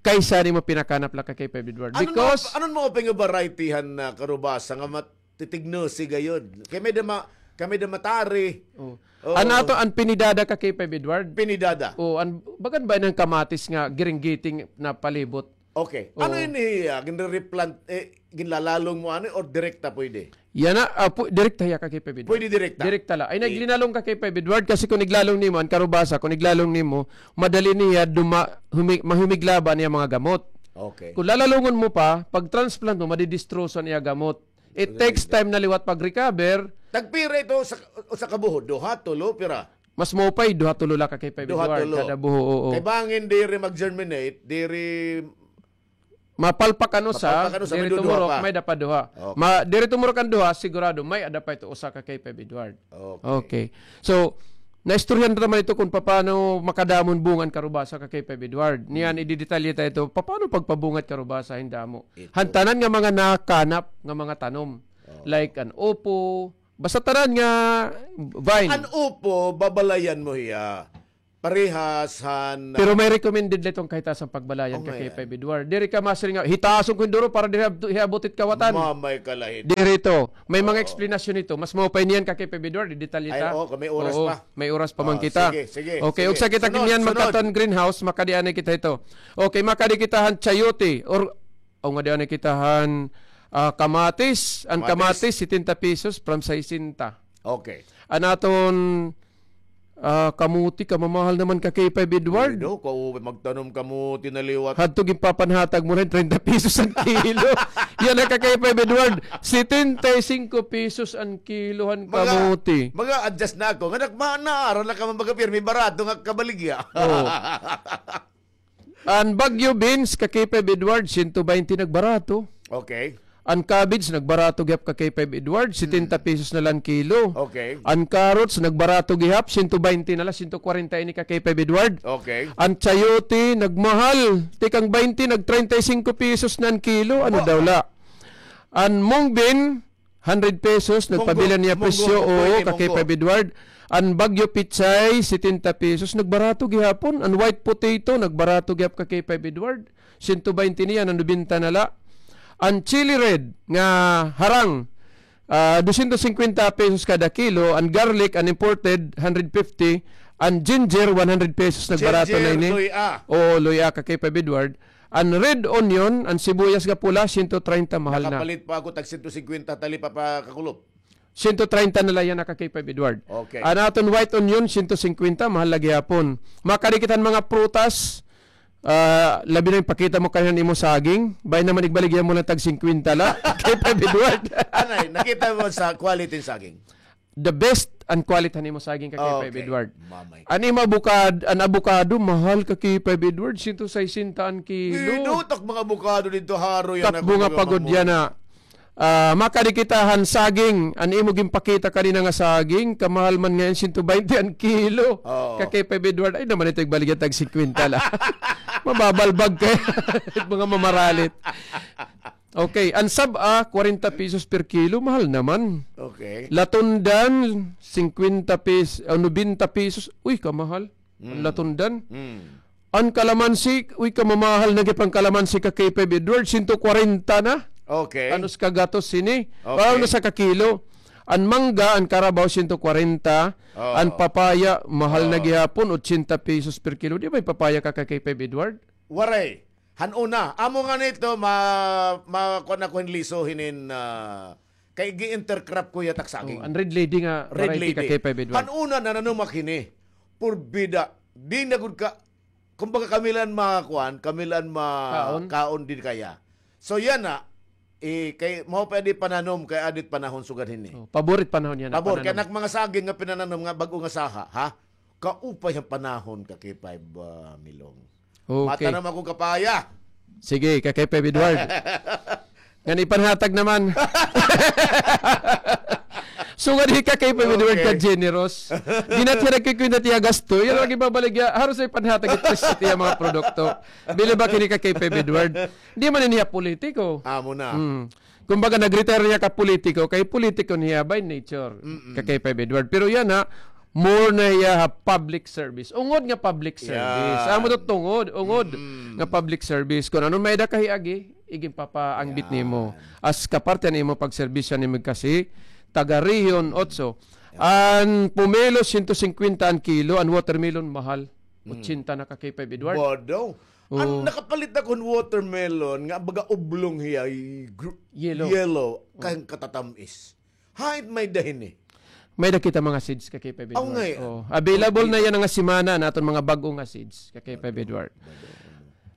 kaysa nimo pinakanap la ka, K five Edward. Because ano maupay nga variety han, ah, karubasa nga mat- titignosi gayod. Kay may-ada ma-, kay may-ada matari. Oh. An ato, an pinidada ka, K five Edward? Pinidada. Oh, an, bagan ba an kamatis nga giringgiting na palibot? Okay. Ano ini, ah, ginre-replant, eh, ginlalalong mo ani or direkta pwede? Yana, ah, pu-, direkta hiya ka, K five Edward. Pwede direkta? Direkta la. Ay, naglinalong ka, K five Edward, kasi kung iglalong nimo, an karubasa, kung iglalong nimo, madali niya duma-, humi-, mahumigla ba niya mga gamot. Okay. Kung lalalungon mo pa, pag transplant mo, madidistroso niya gamot. It takes time na liwat pag-recover. Tagpira ito sa, usa ka buhod? Duha, tulo, pira? Mas maupay, duha, tulo la ka, K five Edward, kada buho, oo. Kay bangin diri mag-germinate, diri mapalpak an usa, diri tumurok, may-ada pa duha. Okay. Ma-, diri tumurok an duha, sigurado, may-ada pa ito usa ka, K five Edward. Okay. Okay. So, Naistoryahan ta man ito kon papaano makadamo an bunga an karubasa, ka K five Edward. Niyan, ididetalye ta ito, papaano pagpabunga it karubasa, hin damo. Ito. Han tanan nga mga nakanap nga mga tanom. Oo. Like an upo, basta tanan nga vine. An upo, babalayan mo hiya. Parehas han, Pero may recommended la iton kahitaas an pagbalayan, ka K five Edward. Diri ka masiring nga, hitaason ko hin duro para diri hiabot it kawatan. Mamay ka la hito. Diri ito. May mga eksplanasyon ito. Mas maupay niyan, ka K five Edward, ididetalye ta. Ay, oo, may oras pa. May oras pa man kita. Sige, sige. Okay, ugsa kita niyan magkadto han greenhouse, makadi anay kita hito. Okay, makadi kita han chayote, or, o ngadi anay kita han, ah, kamatis. An kamatis, setenta pesos from sesenta. Okay. An aton, ah, kamuti, kamamahal naman, ka K five Edward. Ay, daw, kaupay magtanom kamuti na liwat. Hadto ginpapanhatag mo na hin treinta pesos an kilo. Yana, ka K five Edward, setenta y cinco pesos an kilo han kamuti. Mag-a-adjust na ako. Nga nagmana, ara na ka man baga pirmi barato nga kabaligya. Oo. An Baguio beans, ka K five Edward, sento baynte nagbarato. Okay. An cabbage, nagbarato gihap, ka K five Edward, setenta pesos na la an kilo. Okay. An carrots, nagbarato gihap, sento baynte na la, sento kwarenta ini, ka K five Edward. Okay. An chayote, nagmahal, tikang baynte, nag treinta y cinco pesos na an kilo. Ano daw la? An mung bean, hundred pesos, nagpabilin niya presyo, oo, ka K five Edward. An Baguio pechay, setenta pesos, nagbarato gihapon. An white potato, nagbarato gihap, ka K five Edward. Sento baynte niyan, an nobenta na la. An chili red nga harang, ah, dosyentos singkwenta pesos kada kilo. An garlic, an imported, hundred fifty. An ginger, one hundred pesos, nagbarato na ini. Ginger, luy-a. Oo, luy-a, ka K five Edward. An red onion, an sibuyas nga pula, sento treinta, mahal na. Nakapalit pa ako tag sento singkwenta, tali pa, pa kakulop. Sento treinta na la yana, ka K five Edward. Okay. An aton white onion, sento singkwenta, mahal la gihapon. Makadi kita han mga prutas, ah, labi na ipakita mo kanhi an imo saging. Bangin naman igbaligya mo la tag singkwenta la, ka K five Edward. Anay, nakita mo sa quality hin saging? The best an quality han imo saging, ka K five Edward. Mamay. An imo abukad-, an abukado, mahal, ka K five Edward, sento sesenta an kilo. Idutak mga abukado didto, haro yana. Katbo nga pagod yana. Ah, makadi kita han saging, an imo ginpakita kanina nga saging, kamahal man ngay-an, sento baynte an kilo. Oo. Ka K five Edward, ay naman ito, igbaligya tag singkwenta la. Mababalbag kay mga mamaralit. Okay, an sab-a, kwarenta pesos per kilo, mahal naman. Okay. Latundan, singkwenta pes-, ah, nobenta pesos. Uy, kamahal. An latundan. An kalamansi, uy, kamamahal na gihap an kalamansi, ka K five Edward, sento kwarenta na. Okay. An usa ka gatos hini. Okay. Aw, na usa ka kilo. An mangga, an karabaw, sento kwarenta. Oo. An papaya, mahal na gihapon, otsenta pesos per kilo. Di ba may papaya ka, ka K five Edward? Waray. Han una, amo ngani ito, ma-, ma-, kuan ako hin liso hinin, ah, kay gi-intercrop ko hiya tak saging. Oh, an Red Lady nga variety, ka K five Edward. Han una, nananom ak hini. Purbida, di na gud ka, kumbaga, kami la an mga kuan, kami la an ma-, kaon diri kaya. So, yana, eh, kay mao pa adi pananom, kay adi it panahon sugad hini. Oh, pabor it panahon yana. Pabor, kay an ak mga saging nga pinananom nga bag-o nga saha, ha? Kaupay han panahon, ka K five, ah, Milong. Okay. Matanom ako hin papaya. Sige, ka K five Edward. Ngan ipanhatag naman. Sugad hi ka K five Edward ka generous. Di na hiya nagkikwenta tiya gasto. Yana lagi babaligya. Haros ipanhatag it presyo tiya mga produkto. Bilib ak hini, ka K five Edward. Di man ini hiya politiko. Amo na. Hmm. Kumbaga, nag-retire hiya ka politiko, kay politiko na hiya by nature, ka K five Edward. Pero yana, more na hiya ha public service. Ungod nga public service. Amo to, tungod, ungod nga public service. Kon ano may-ada ka hiagi, iginpapaangbit nimo. As kaparte han imo pagserbisyo nimo kasi taga Region Otso. An pomelo, sento singkwenta an kilo, an watermelon, mahal. Otsenta na, ka K five Edward. Bodo. An nakapalit ako hin watermelon nga baga oblong hiya, yellow. Yellow, kay katatamis. Hain may-ada hini? May-ada kita mga seeds, ka K five Edward. Aw, ngay-an. Oh, available na yana nga semana an aton mga bag-o nga seeds, ka K five Edward.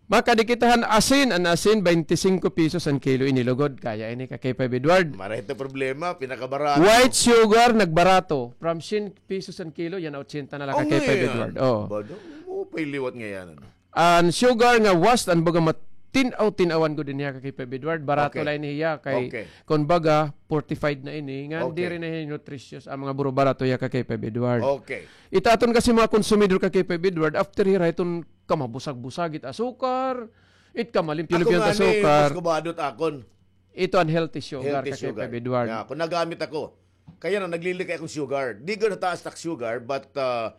Makadi kita han asin, an asin, baynte singko pesos an kilo, ini lugod. Kaya ini, ka K five Edward. Marahay ito problema, pinakabarato. White sugar, nagbarato. From syen pesos an kilo, yana otsenta na la, ka K five Edward. Oh. Bado, maupay liwat ngay-an, ano? An sugar nga wasp, an baga mat-, Tin-aw, tin-awan gud ini hiya ka K five Edward. Barato Okay. la ini hiya kay Okay. kun baga fortified na ini. Nga Okay. diri na hiya nutritious an mga buro, barato hiya ka K five Edward. Okay. It aton kasi mga konsumidor ka K five Edward, after hira iton kamabusag-busag it asukar, it kamalimpyo-limpyo it asukar. Mas kubado it akon. Ito an healthy sugar Healthy ka K five sugar. Edward. Yeah, kung nagamit ako, kaya na naglilikay akong sugar. Di gud taas tak sugar, but uh,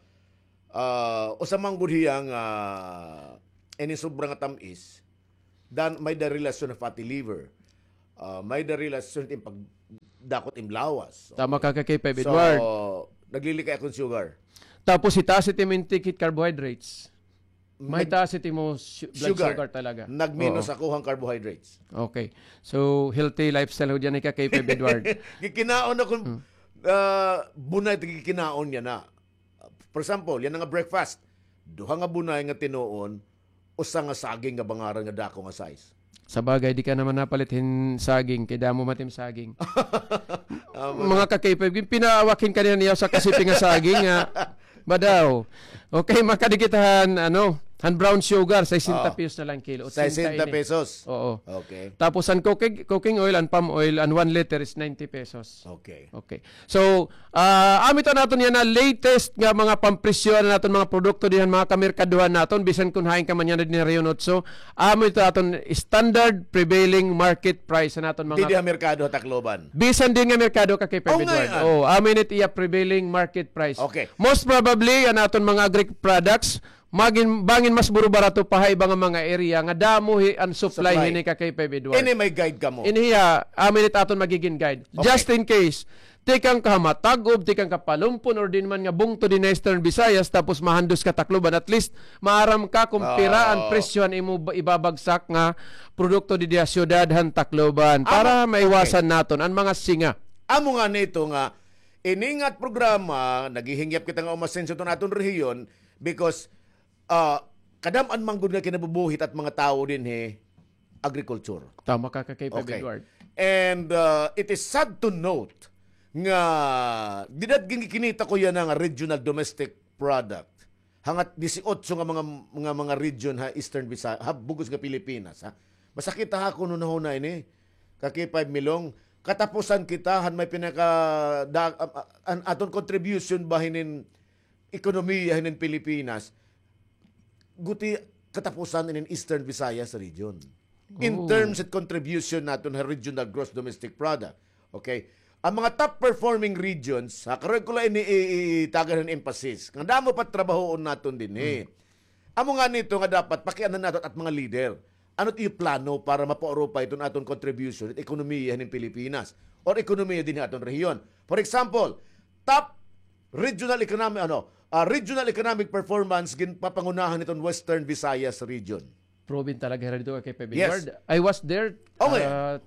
uh, usa man gud hiya nga ini sobra nga tamis, dan may da relasyon na fatty liver. Uh, may da relasyon it im pagdakot im lawas. Tama ka ka K five Edward. So, naglilikay akong sugar. Tapos itaas it im intake it carbohydrates. May Nag- taas it imo su- blood Sugar. sugar talaga. Nagminus Oo. ako han carbohydrates. Okay. So, healthy lifestyle ho dyan, ika K five Edward. Gikinaon ako, Hmm. ah, bunay, gikinaon niya na. For example, yana nga breakfast. Duha nga bunay nga tinuon, usa nga saging nga bangaran nga dako nga size. Sa bagay, di ka naman napalit hin saging, kay damo man it im saging. Ah, Mga ka K five, gin-, pinaawak hin kanina niya sa kasipi nga saging, nga, badaw. Okay, makadi kita han, ano, han brown sugar, sesenta Ah. pesos na lang kilo. Sesenta Otsinta ini. pesos. Oo. Okay. Tapos an cooking, cooking oil, an palm oil, an one liter is ninety pesos. Okay. Okay. So, ah, amo ito an aton yana latest nga mga pampresyo han aton mga produkto dinhi han mga kamerkaduhan naton, bisan kun hain ka man yana dinhi ha Region Otso, amo ito aton standard prevailing market price han aton mga Dinhi ha merkado ha Tacloban. Bisan dinhi nga merkado ka kay Oh, Pedro. Ngay-an. Oh, amo ini it iya prevailing market price. Okay. Most probably, an aton mga agri products, magin, bangin mas buro barato pa ha iba nga mga area nga damo hi, an supply Supply. hini ka kay Peb Edward. Ini may guide kamo. Ini hiya, amo ini it aton magigin guide. Okay. Just in case, tikang ka ha Matag-ob, tikang ka ha Palumpon, or diin man nga bungto dinhi ha Eastern Visayas, tapos mahandos ka Tacloban, at least, maaram ka kung pira an Oo. presyo han imo ba-, ibabagsak nga produkto didi ha syudad han Tacloban, Amo, para maiwasan okay. naton an mga singa. Amo ngani ito nga, ini nga programa, naghihingyap kita nga umasenso iton aton rehiyon, because, ah, kadam-an man gud nga kinabubuhi it mga tawo dinhi, agriculture. Tama ka, ka kay Peb Okay. Edward. And, uh, it is sad to note nga dida gin-, gikinita ko yana nga regional domestic product. Hangga't disiotso nga mga, nga mga region ha Eastern Visayas, ha bug-os nga Pilipinas, ha. Masakit ha akon hunahuna ini. Ka kay Peb Milong, katapusan kita han may pinaka, da-, a-, a-, an aton contribution ba hinin ekonomiya hinin Pilipinas, guti katapusan inin Eastern Visayas region. In Oh. terms of contribution naton ha regional gross domestic product. Okay? An mga top performing regions, ha, karuyag ko la ini i-, i-, itagan hin emphasis. Nga damo pa trabahoon naton dinhi. Hmm. Amo ngani ito nga dapat pakianhan naton it mga leader. Ano it iyo plano para mapaurupay iton aton contribution, it ekonomiya hinin Pilipinas, or ekonomiya dinhi ha aton rehiyon? For example, top regional economic, ano, ah, regional economic performance ginpapangunahan hiton Western Visayas region. Proven talaga hira didto kay Peb Yes. Edward. I was there, Okay. ah,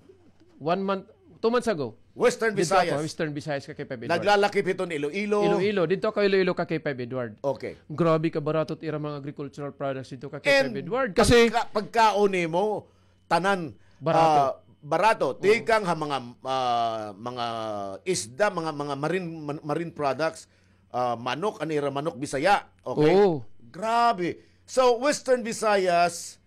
one month, two months ago. Western Didto Visayas. ako, Western Visayas ka kay Peb Edward. Naglalakip hiton Iloilo. Iloilo. Didto ako Iloilo ka kay Peb Edward. Okay. Grabe ka barato it ira mga agricultural products didto ka kay And Peb Edward. Kasi pagka-, pagkaon nimo, tanan, Barato. ah, barato. Oo. Tikang ha mga, ah, mga isda, mga, mga marine, man-, marine products, ah, manok, an ira manok Bisaya. Okay? Oo. Grabe. So, Western Visayas,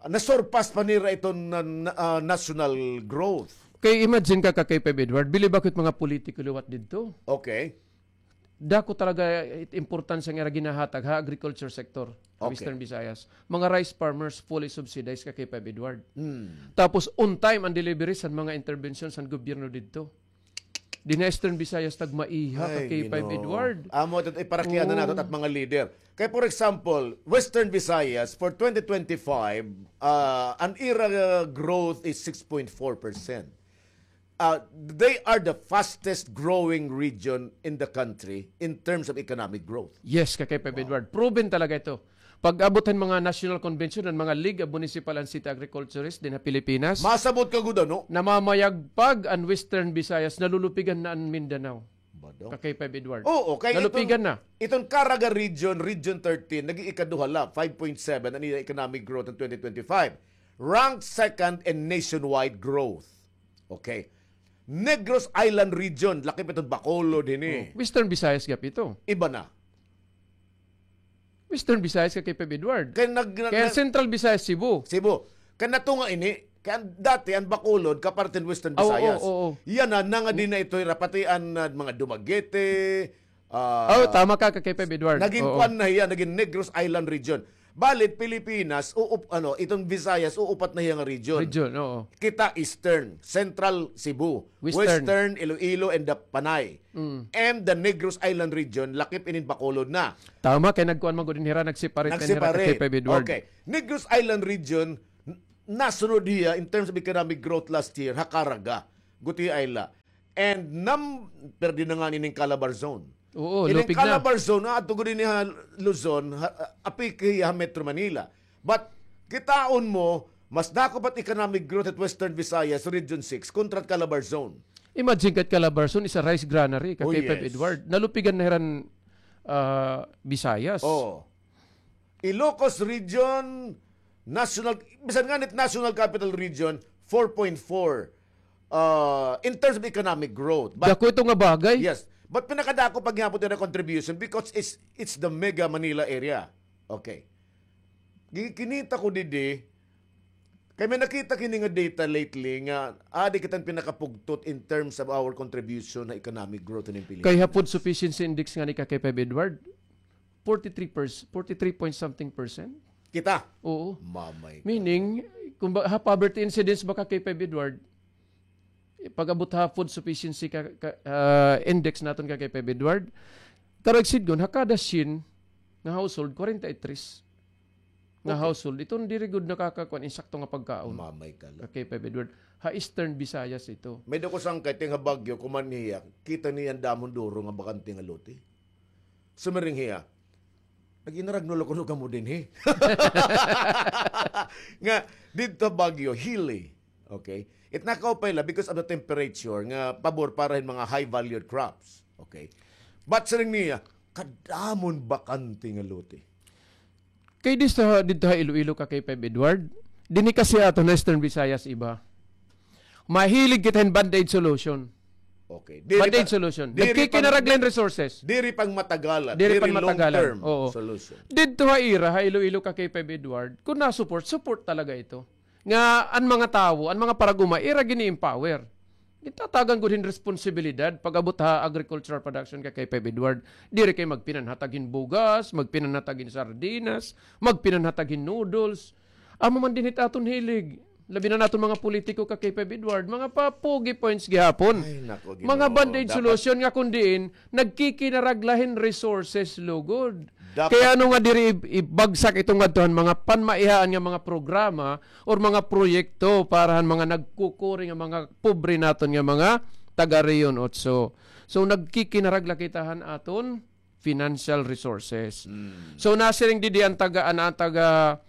na-surpass pa nira iton na, na, ah, national growth. Kay imagine ka, ka kay Peb Edward, bilib ako it mga politiko liwat didto. Okay. Dako talaga it importansya nga ira ginahatag ha agriculture sector ha Okay. Western Visayas. Mga rice farmers fully subsidized ka kay Peb Edward. Hmm. Tapos on time an delivery san mga interventions san gobyerno didto. Dinhi ha Eastern Visayas tagmaiha ka Ay, kay Peb Ginoo. Edward. Amo, ito, iparakian na nato Oo. it mga leader. Kay, for example, Western Visayas for twenty twenty-five, ah, an ira, ah, growth is six point four percent. Ah, they are the fastest growing region in the country in terms of economic growth. Yes, ka kay Peb Wow. Edward. Proven talaga ito. Pag-abot han mga national convention, an mga League of Municipal and City Agriculturists dinhi ha Pilipinas, Masabot ka gud, ano? namamayagpag an Western Visayas, nalulupigan na an Mindanao. Bado. Ka kay Peb Edward. Oo, kay Nalupigan iton, na. iton Caraga region, Region thirteen, naging ikaduha la, five point seven an iya economic growth in twenty twenty-five. Ranked second in nationwide growth. Okay. Negros Island region, lakip iton Bacolod hini. Oh, Western Visayas gihap ito. Iba na. Western Visayas ka kay Peb Edward. Kay nag-, nag-, Kay nag- Central Visayas, Cebu. Cebu. Kay natunga ini, kay an, dati an Bacolod, kaparte hin Western Visayas. Yana, nangadi na ito, hira, pati an, ah, mga Dumaguete, ah, tama ka, K five Edward. Naging kuan na hiya, naging Negros Island Region. Balit, Pilipinas, uup-, ano, iton Visayas, uupat na hiya nga region. Region, oo. Kita Eastern, Central Cebu, Western. Western, Iloilo, and the Panay. Mm. And the Negros Island Region, lakip inin Bacolod na. Tama, kay nagkuan man gud hira, nag-separate na hira, K five Edward. Okay. Negros Island Region, n-, nasunod hiya in terms of economic growth last year, ha Caraga, Guti Island. And nam-, perdi na ngani ining Calabar Zone. Oo, ining lupig na. Calabar Zone, ah, ato gud ini ha Luzon, ha, ah, apiki ha Metro Manila. But, kitaon mo, mas dako pa it economic growth at Western Visayas, Region six, kontra at Calabar Zone. Imagine ka, Calabar Zone is a rice granary, ka K five Edward. Nalupigan na hiran, ah, Visayas. Oo. Ilocos Region, National, bisan ngani it National Capital Region, four point four, uh, in terms of economic growth. But, dako ito nga bagay. Yes. But pinakadako pa gihapon ira contribution because it's, it's the mega Manila area. Okay. Gi-, kinita ko didi, kay may nakita kini nga data lately nga, ah, di kita pinakapugtot in terms of our contribution ha economic growth hin Pilipinas. Kay ha food sufficiency index ngani, ka K five Edward, forty-three percent, forty-three point something percent. Kita? Oo. Mamay ka. Meaning, kung ba, ha poverty incidence ba, ka K five Edward, pag-abot ha food sufficiency ka, ka, ah, index naton, ka K five Edward, karuyag sidngon, ha kada syen nga household, kwarenta y tres nga household, iton diri gud nakakakuan insakto nga pagkaon. Mamay ka la. Ka K five Edward. Ha Eastern Visayas ito. May dako sangkay, ting ha Baguio, kuman niya, kita niya an damo hin duro nga bakante nga lote. Sumiring hiya, "Nag-inaragno la kuno kamo dinhi." Nga, didto Baguio, hilly. Okay? It nakaupay la because of the temperature nga pabor para hin mga high-valued crops. Okay? But siring niya, kadamo hin bakante nga lote. Kay didto, didto ha Iloilo, ka K five Edward, dinhi kasi aton ha Eastern Visayas iba. Mahilig kita hin band-aid solution. Okay. Band-aid solution. Nagkikinaragla hin resources. Diri pangmatagalan. Diri pangmatagalan. Long-term solution. Didto ha ira, ha Iloilo, ka K five Edward, kung na-support, support talaga ito. Nga an mga tawo, an mga parag-uma, ira gini-empower. Gintatagan gud hin responsibilidad pag-abot ha agricultural production, ka K five Edward. Diri kay magpinanhatag hin bugas, magpinanhatag hin sardinas, magpinanhatag hin noodles. Amo man dinhi it aton hilig. Labi na naton mga politiko, ka K five Edward, mga papugi points gihapon. Ay, nako, Ginoo. Mga band-aid solution nga kun diin, nagkikinaragla hin resources lugod. Kay ano nga diri ib-, ibagsak iton ngadto han mga panmaihaan nga mga programa or mga proyekto para han mga nagkukuri nga mga pobre naton nga mga taga Region Otso. So, nagkikinaragla kita han aton financial resources. So, nasiring didi an taga, an, an taga,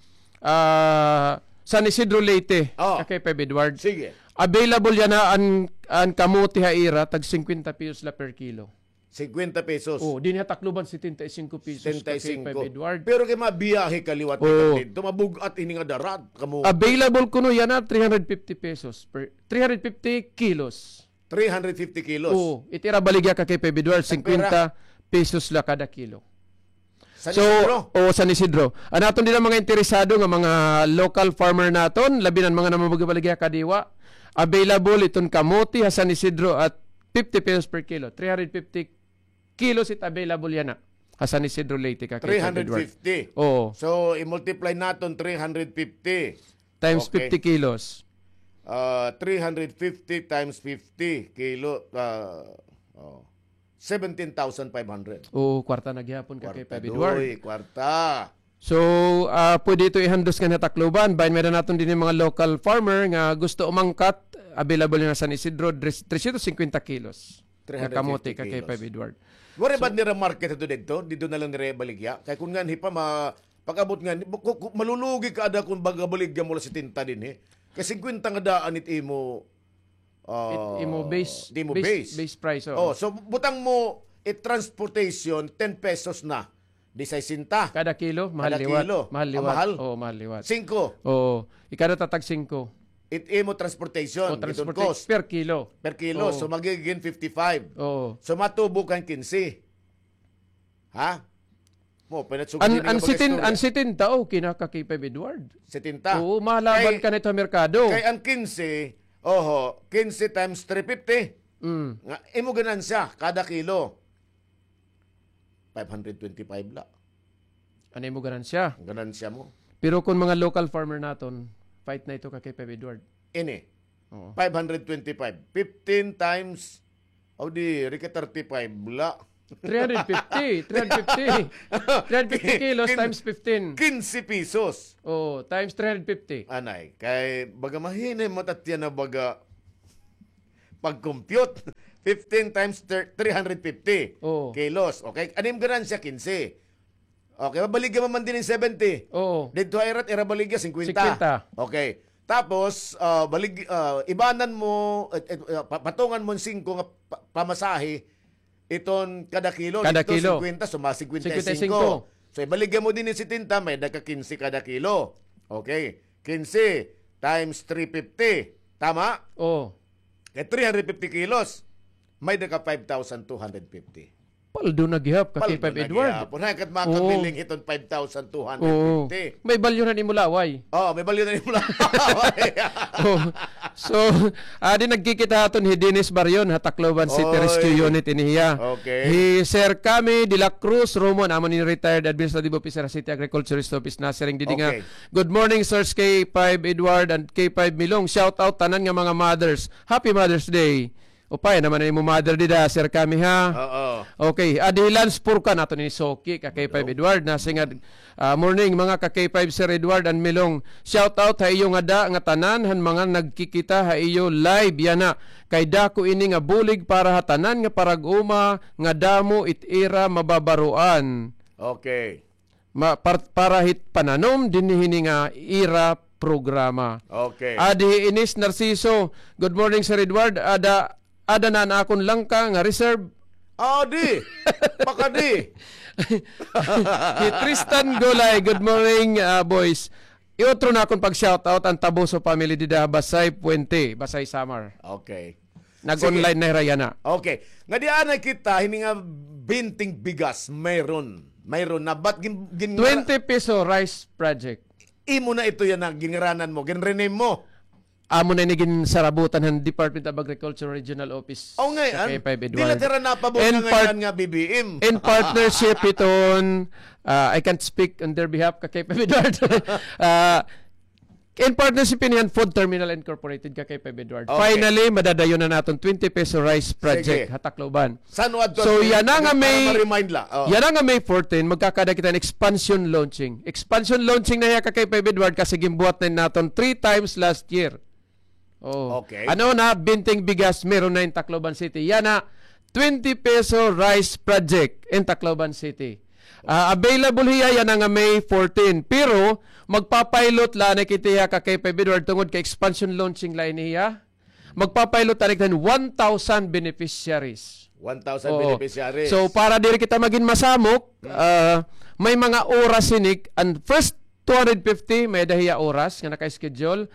ah, San Isidro Leyte, ka K five Edward. Sige. Available yana an, an kamote ha ira, tag singkwenta pesos la per kilo. Singkwenta pesos. O, dinhi ha Tacloban, setenta y cinco pesos, ka K five Edward. Pero kay mabiyahe ka liwat ka didto, mabug-at ini nga darat, kamo. Available kuno yana, three hundred fifty pesos per, three hundred fifty kilos. Three hundred fifty kilos. Oo, it ira baligya, ka K five Edward, singkwenta pesos la kada kilo. San Isidro? So, o, San Isidro. An aton dida mga interesado nga mga local farmer naton, labi na an mga namamaligya kadiwa, available iton kamote ha San Isidro at fifty pesos per kilo. Three hundred fifty kilos it available yana ha San Isidro Leyte, ka K five Edward. Three hundred fifty. Oo. So, i-multiply naton three hundred fifty. Times fifty kilos. Ah, three hundred fifty times fifty kilo, ah, oh, seventeen thousand five hundred. Oo, kwarta na gihapon, ka K five Edward. Kwarta, doy, kwarta. So, ah, pwede ito ihandos nganhi ha Tacloban. Bahin may-ada naton dinhi mga local farmer nga gusto umangkat, available na San Isidro, tres-, trescientos cincuenta kilos. Three hundred fifty kilos. Kamote, ka K five Edward. Waray ba nira market ito didto? Didto na lang nira ibaligya? Kay kun nganhi pa ma-, pag-abot nganhi, ku-, ku-, malulugi ka ada kun baga baligya mo la setenta dinhi. Kay singkwenta nga daan it imo, ah, it imo base, it imo base, base price, oo. Oh, so butang mo it transportation, ten pesos na. Di sesenta. Kada kilo, mahal liwat. Kada kilo. Mahal liwat. Ah, mahal? Oo, mahal liwat. Singko. Oo. Ikada ta tag singko. It imo transportation, iton cost. Per kilo. Per kilo. Oo. So, magiging fifty-five. Oo. So, matubo ka hin kinse. Ha? Mo, pinatsugan An, din an nga sitin, baga an istorya. Setenta, okay na ka K five Edward. Setenta. Oo, malaban Kay, ka na ito merkado. Kay ang kinse, oho, kinse times three fifty. Mm. Nga, imo ganansya, kada kilo. Five hundred twenty-five la. Ano imo ganansya? Ang ganansya mo. Pero kung mga local farmer naton, fight na ito ka K five Edward. Ini. Oo. Five hundred twenty-five. Fifteen times, o di, rika thirty-five la. Three hundred fifty, three hundred fifty. Three hundred fifty kilos Kin-, times fifteen. Kinse pesos. Oo, times three hundred fifty. Anay, kay baga mahinay mo tatya na baga pag-compute. Fifteen times thir-, three hundred fifty Oo. kilos. Okay? Ano yung ganansya? Kinse. Okay, mabaligya man din yung seventy. Oo. Dito ay rat, ira baligya, singkwenta. Singkwenta. Okay. Tapos, ah, balig-, ah, ibanan mo, eh, eh, ah, pa-, patungan mo singko nga pa-, pamasahe, iton kada kilo, Kada dito, kilo. singkwenta, suma singkwenta y singko. Singkwenta y singko. So, ibaligya mo din yung setenta, may da ka kinse kada kilo. Okay. Kinse times three fifty. Tama? Oo. Kay three hundred fifty kilos, may da ka five thousand two hundred fifty. Paldo na gihap ka Paldo K five na Edward. gihap. Unahay kat makabiling Oo. hiton five thousand two hundred fifty. Oo. May balyo na nimo laway. Oo, may balyo na nimo laway. Oo. So, adi nagkikita aton hi Dennis Barion ha Tacloban City Oy. Rescue Unit ini hiya. Okay. Hi Sir Cami de la Cruz Romon, amo ni retired administrative officer ha City Agriculturist Office, nasiring didi nga, Okay. "Good morning, Sirs K five Edward and K five Milong. Shout out tanan nga mga mothers. Happy Mother's Day." Upay naman an imo mother dida, Sir Cami, ha? Oo. Okay, adi hi Lance Purkan, aton ini suki, ka K five Hello. Edward, nasiring nga, ah, "Morning, mga ka K five, Sir Edward and Milong. Shout out ha iyo ngada nga tanan, han mga nagkikita ha iyo live yana. Kay dako ini nga bulig para ha tanan nga parag-uma nga damo it ira mababaroan." Okay. Ma-, par-, para hit pananom dinhi hini nga ira programa. Okay. Adi hi Ines Narciso, "Good morning, Sir Edward. Ada, ada na an akon langka nga reserve." Adi! Pakadi! Hi Tristan Golay, "Good morning, ah, boys. Iutro na akon pag-shoutout an Taboso family dida Basay Puente, Basay Samar." Okay. Nag-online Sige. na hira yana. Okay. Nga di anay kita, hini nga binting bigas, mayroon. Mayroon na. Ba't gin-, gin-, Twenty peso rice project. Imo na ito yana, ginngaranan mo, gin-rename mo. Amo na ini ginsarabutan han Department of Agriculture Regional Office Oh, ngay-an. ka K five Di Edward. na tira napabot In nga part-, ngay-an nga B B M. in partnership iton, ah, I can't speak on their behalf ka K five Edward. Ah, In partnership ini han Food Terminal Incorporated, ka K five Edward. Okay. Finally, madadayon na naton twenty peso rice project Sige. ha Tacloban. San-o adto So, an yana nga para May, ma-remind la. Oh. yana nga May fourteen, magkakada kita hin expansion launching. Expansion launching na hiya ka K five Edward kasi ginbuhat na naton three times last year. Oh. Okay. Ano na, binting bigas, meron na in Tacloban City. Yana, twenty peso rice project in Tacloban City. Ah, available hiya yana nga May fourteen. Pero, magpa-pilot la anay kita hiya ka K five Edward tungod kay expansion launching la ini hiya. Magpa-pilot anay kita hin one thousand beneficiaries. One thousand Oo. beneficiaries. So, para diri kita magin masamok, Hmm. ah, may mga oras hini, an first two hundred fifty, may-ada hiya oras nga naka-schedule.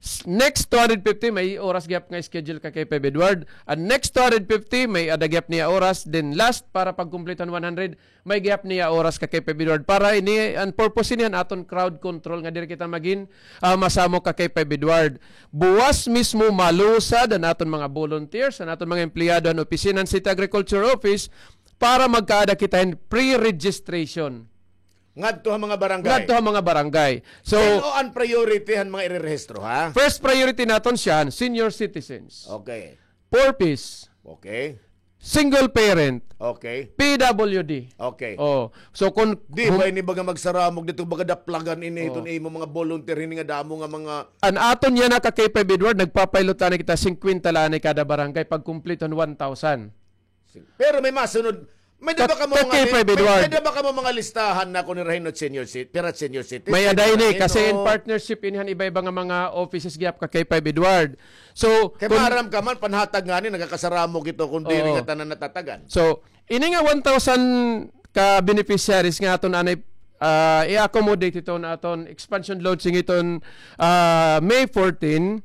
S-, next two hundred fifty, may oras gihap nga schedule ka K five Edward. An next two hundred fifty, may-ada gihap niya oras. Then last, para pagkumpleto han one hundred, may gihap niya oras ka K five Edward. Para ini, an purpose ini han aton crowd control nga diri kita magin, ah, masamok ka K five Edward. Buwas mismo malusad an aton mga volunteers, an aton mga empleyado han opisina han City Agriculture Office para magkaada kita hin pre-registration. Ngadto ha mga barangay. Ngadto ha mga barangay. So, Sin-o an priority han mga irerehistro, ha? First priority naton siya, senior citizens. Okay. Four Ps. Okay. Single parent. Okay. P W D. Okay. Oh. So, kung Di hum- ba ini baga magsaramog dito, baga daplagan ini, Oh. iton imo mga volunteer, hini nga damo nga mga An aton yana ka K five Edward, nagpa-pilot la anay kita, singkwenta la anay kada barangay, pagkumpleto han one thousand. Sige. Pero may masunod. May da ba kamo mga li-, may, may da ba kamo mga listahan na kung irahin no senior cit-, pira senior citizen, May aday ni, kasi in partnership ini han iba-iba nga mga offices gihap ka K five Edward. So, kay maaram ka man, panhatag ngani, nagakasaramog ito kung diri nga tanan natatagan. So, ini nga one thousand ka beneficiaries nga aton anay, ah, i-accommodate iton aton expansion launching iton, ah, May fourteen.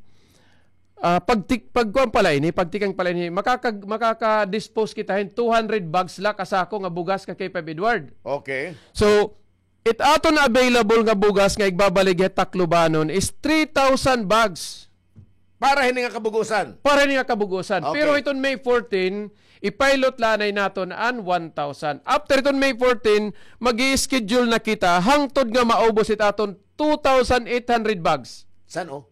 Ah, pagtik-, pagkuan pala ini, pagtikang pala ini, makaka-, makaka-dispose kita hin two hundred bags la ka sako nga bugas ka K five Edward. Okay. So, it aton available nga bugas nga igbabaligya ha Taclobanon is three thousand bags. Para hini nga kabugusan? Para hini nga kabugusan. Okay. Pero hiton May fourteen, i-pilot la anay naton an one thousand. After hiton May fourteen, mag-i-schedule na kita hangtod nga maubos it aton two thousand eight hundred bags. San-o?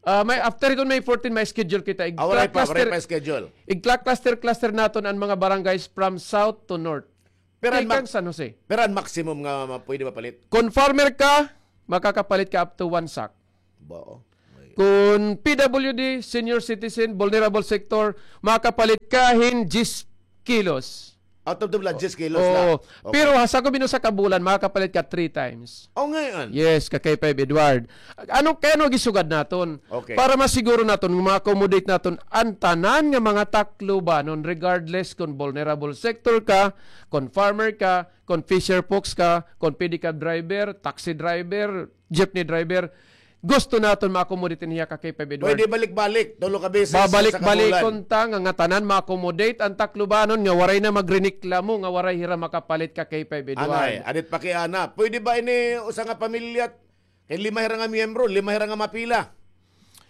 Ah, may, after hiton May fourteen, may schedule kita. Ah, waray pa, waray pa schedule. Igkla-cluster, igkla-cluster-cluster naton an mga barangays from south to north. Pero an Tikang mak-, San Jose. Pero an maximum nga ma-, pwede mapalit? Kon farmer ka, makakapalit ka up to one sack. Bao. Kon P W D, senior citizen, vulnerable sector, makapalit ka hin diyes kilos. Out of the blood, diyes kilos la. Oo. Okay. Pero ha sakob hin usa ka bulan, makakapalit ka three times. O, ngay-an. Yes, ka K five Edward. Ano, kay ano gisugad naton? Okay. Para masiguro naton, ma-accommodate naton an tanan nga mga Taclobanon, regardless kon vulnerable sector ka, kon farmer ka, kon fisher folks ka, kon pedicab driver, taxi driver, jeepney driver, gusto naton ma-accommodate niya ka K five Edward. Pwede balik-balik, tulo ka beses sa kabulan. Babalik-balikon ta nga, nga tanan ma-accommodate an Taclobanon nga waray na magrereklamo nga waray hira makapalit ka K five Edward. Anay, adit pakiana. Pwede ba ini usa nga pamilya? Kay lima hira nga miyembro, lima hira nga mapila.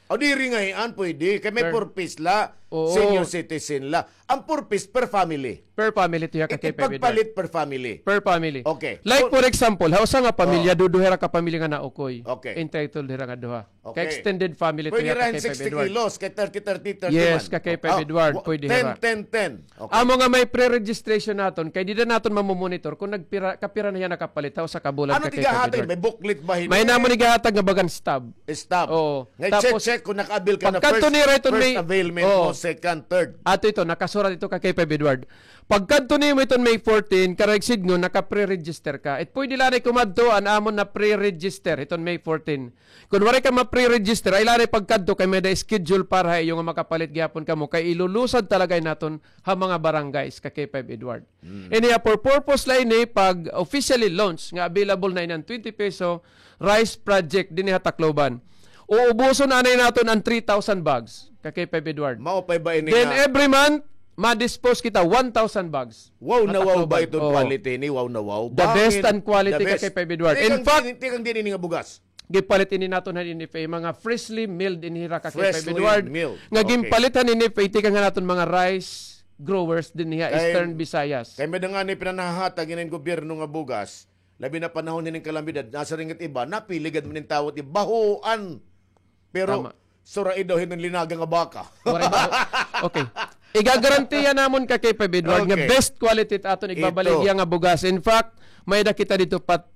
O diri ngay-an, pwede. Kay may purpose la, senior citizen la. An purpose per family. Per family to ya ka K five Edward. Pagpalit per family. Per family. Okay. Like, for example, ha usa nga pamilya, duduha hira ka pamilya nga naukoy. Okay. Entitled hira nga duha. Okay. Ka extended family to ya ka K five Edward. Pwede hira hin sixty kilos, kay thirty, thirty, thirty man. Yes, ka K five Edward, pwede hira. Ten, ten, ten. Okay. Amo nga may pre-registration naton, kay dida naton mamomonitor kon nagpira, kapira na hiya nakapalit ha usa ka bulan ka K five Edward. Ano it igahatag? May booklet ba hini? May namon igahatag nga bagan stub. Stub. Oo. Nga i-check-check kon naka-avail ka na first, first availment mo, second, third. Ato ito, nakasurat ito ka K five Edward. Pagkadto nimo iton May fourteen, karuyag sidngon, naka-pre-register ka. It pwede la anay kumadto an amon na-pre-register iton May fourteen. Kon waray ka ma-pre-register, ay la anay pagkadto kay may-ada schedule para ha iyo nga makapalit gihapon kamo kay ilulusad talaga naton ha mga barangays ka K five Edward. Ini ha, for purpose la ini pag officially launch nga available na ini an twenty peso rice project dinhi ha Tacloban. Uubuson anay naton an three thousand bags ka K five Edward. Mao pa ba ini nga. Then every month, ma-dispose kita one thousand bags. Wow na wow ba iton quality ini? Wow na wow. The best an quality ka K five Edward. In fact, tikang diin ini nga bugas? Gipalit ini naton han N F A, mga freshly milled ini hira ka K five Edward. Freshly milled. Okay. Nga ginpalit han N F A, tikang han aton mga rice growers dinhi ha Eastern Visayas. Kay may-ada ngani pinanhahatag ini hin gobyerno nga bugas, labi na panahon hini hin kalamidad, nasiring it iba, napili gad man hin tawo it iba, bahoan. Pero, tama. Sura daw hiton linaga nga baka. Waray ba? Okay. Igagarantiya namon ka K five Edward nga best quality it aton igbabaligya nga bugas. In fact, may-ada kita didto pa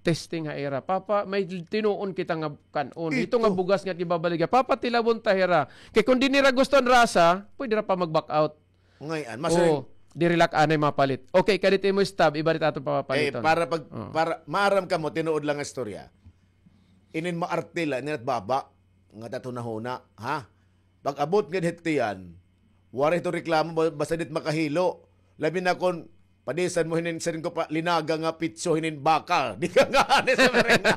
testing ha ira. Papa, may tinuon kita nga kan-on. Ito nga bugas nga gibabaligya. Papatilawon ta hira. Kay kon di nira gusto an rasa, pwede ra pa mag-back out. Ngay-an, masiring. Oo, diri la anay mapalit. Okay, kadit imo stub, iba didto aton papapaliton. Eh, para pag, para maaram kamo, tinuod lang nga istorya. Inin maarte la, inin at baba, nga tatunahuna, ha? Pag-abot ngad hit tiyan, waray ito reklamo, ba-, basta dit makahilo. Labi na kon, padisan mo hinin, siring ko pa, linaga nga pitso hinin baka. Di ka nga, ano sa merenda.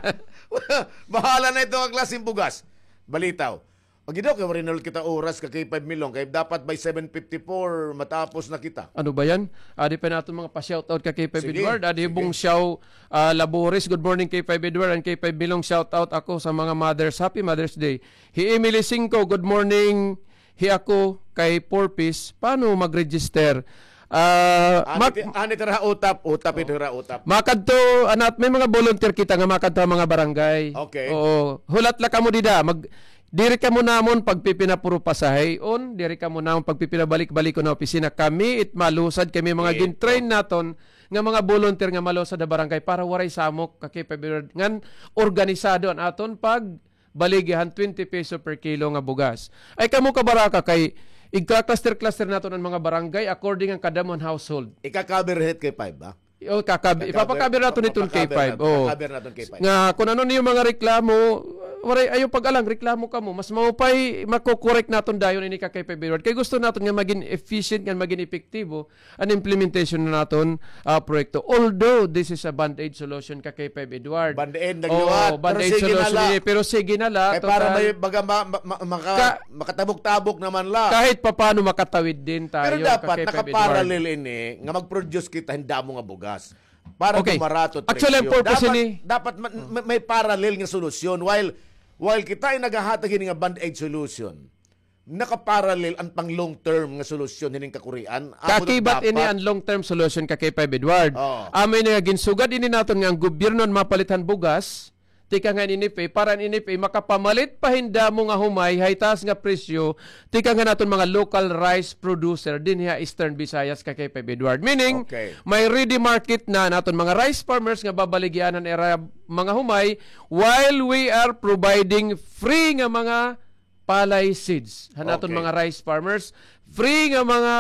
Bahala na ito ang klaseng bugas. Balitaw. Pag daw kay waray na ulit kita oras ka K five Milong, kay dapat by seven fifty-four matapos na kita. Ano ba yan? Adi pa naton mga pa-shoutout ka K five Edward. Sige, sige. Adi Bong Xiao, ah, Labores, good morning K five Edward and K five Milong, shoutout ako sa mga mothers. Happy Mother's Day. Hi Emily Cinco, good morning. Hi ako kay Four Ps. Paano mag-register? Ah, ano it ira utap, utap ito ira utap. Makadto, anat, may mga volunteer kita nga makadto ha mga barangay. Okay. Oo. Hulat la kamo dida. Mag-, Diri kamo namon pagpipinapuro pasahion, diri kamo namon pagpipinabalik-balikon ha opisina. Kami it malusad, kami mga gin-train naton nga mga volunteer nga malusad ha barangay para waray samok ka K five Edward ngan organisado an aton pagbaligya han twenty peso per kilo nga bugas. Ay kamo kabaraka kay igka-cluster-cluster naton an mga barangay according an kadamo han household. Ika-cover hit K five ba? O, kakab-, ipapakabir naton iton K five. O. Kakabir naton K five. Nga, kung ano niyo mga reklamo, waray, ayaw pag-alang, reklamo kamo. Mas maupay, mako-correct naton dayon ini ka K five Edward. Kay gusto naton nga maging efficient, nga maging epektibo an implementation na naton, ah, proyekto. Although, this is a band-aid solution ka K five Edward. Band-aid, nagliwat. Pero band-aid solution ini, pero sige na la. Kay para may baga ma-, ma-, ma-, maka-, makatabok-tabok naman la. Kahit papano makatawid din tayo ka K five Edward. Pero dapat nakaparallel ini nga mag-produce kita hin damo nga bugas. Para dumarato presyo. Actually, ang purpose ini, dapat ma-, ma-, may parallel nga solusyon. While, while kita ay naghahatag hini nga band-aid solution, nakaparallel an pang long term nga solusyon hining kakurian. Amo dapat. Kakibat ini an long term solution ka K five Edward. Oo. Amo ini nga ginsugad ini naton nga an gobyerno an mapalit han bugas, tikang han NFA, para an NFA makapamalit pa hin damo nga humay, hay taas nga presyo, tikang han aton mga local rice producer dinhi ha Eastern Visayas ka K five Edward. Meaning, may ready market na an aton mga rice farmers nga babaligyan han ira mga humay, while we are providing free nga mga palay seeds han aton mga rice farmers, free nga mga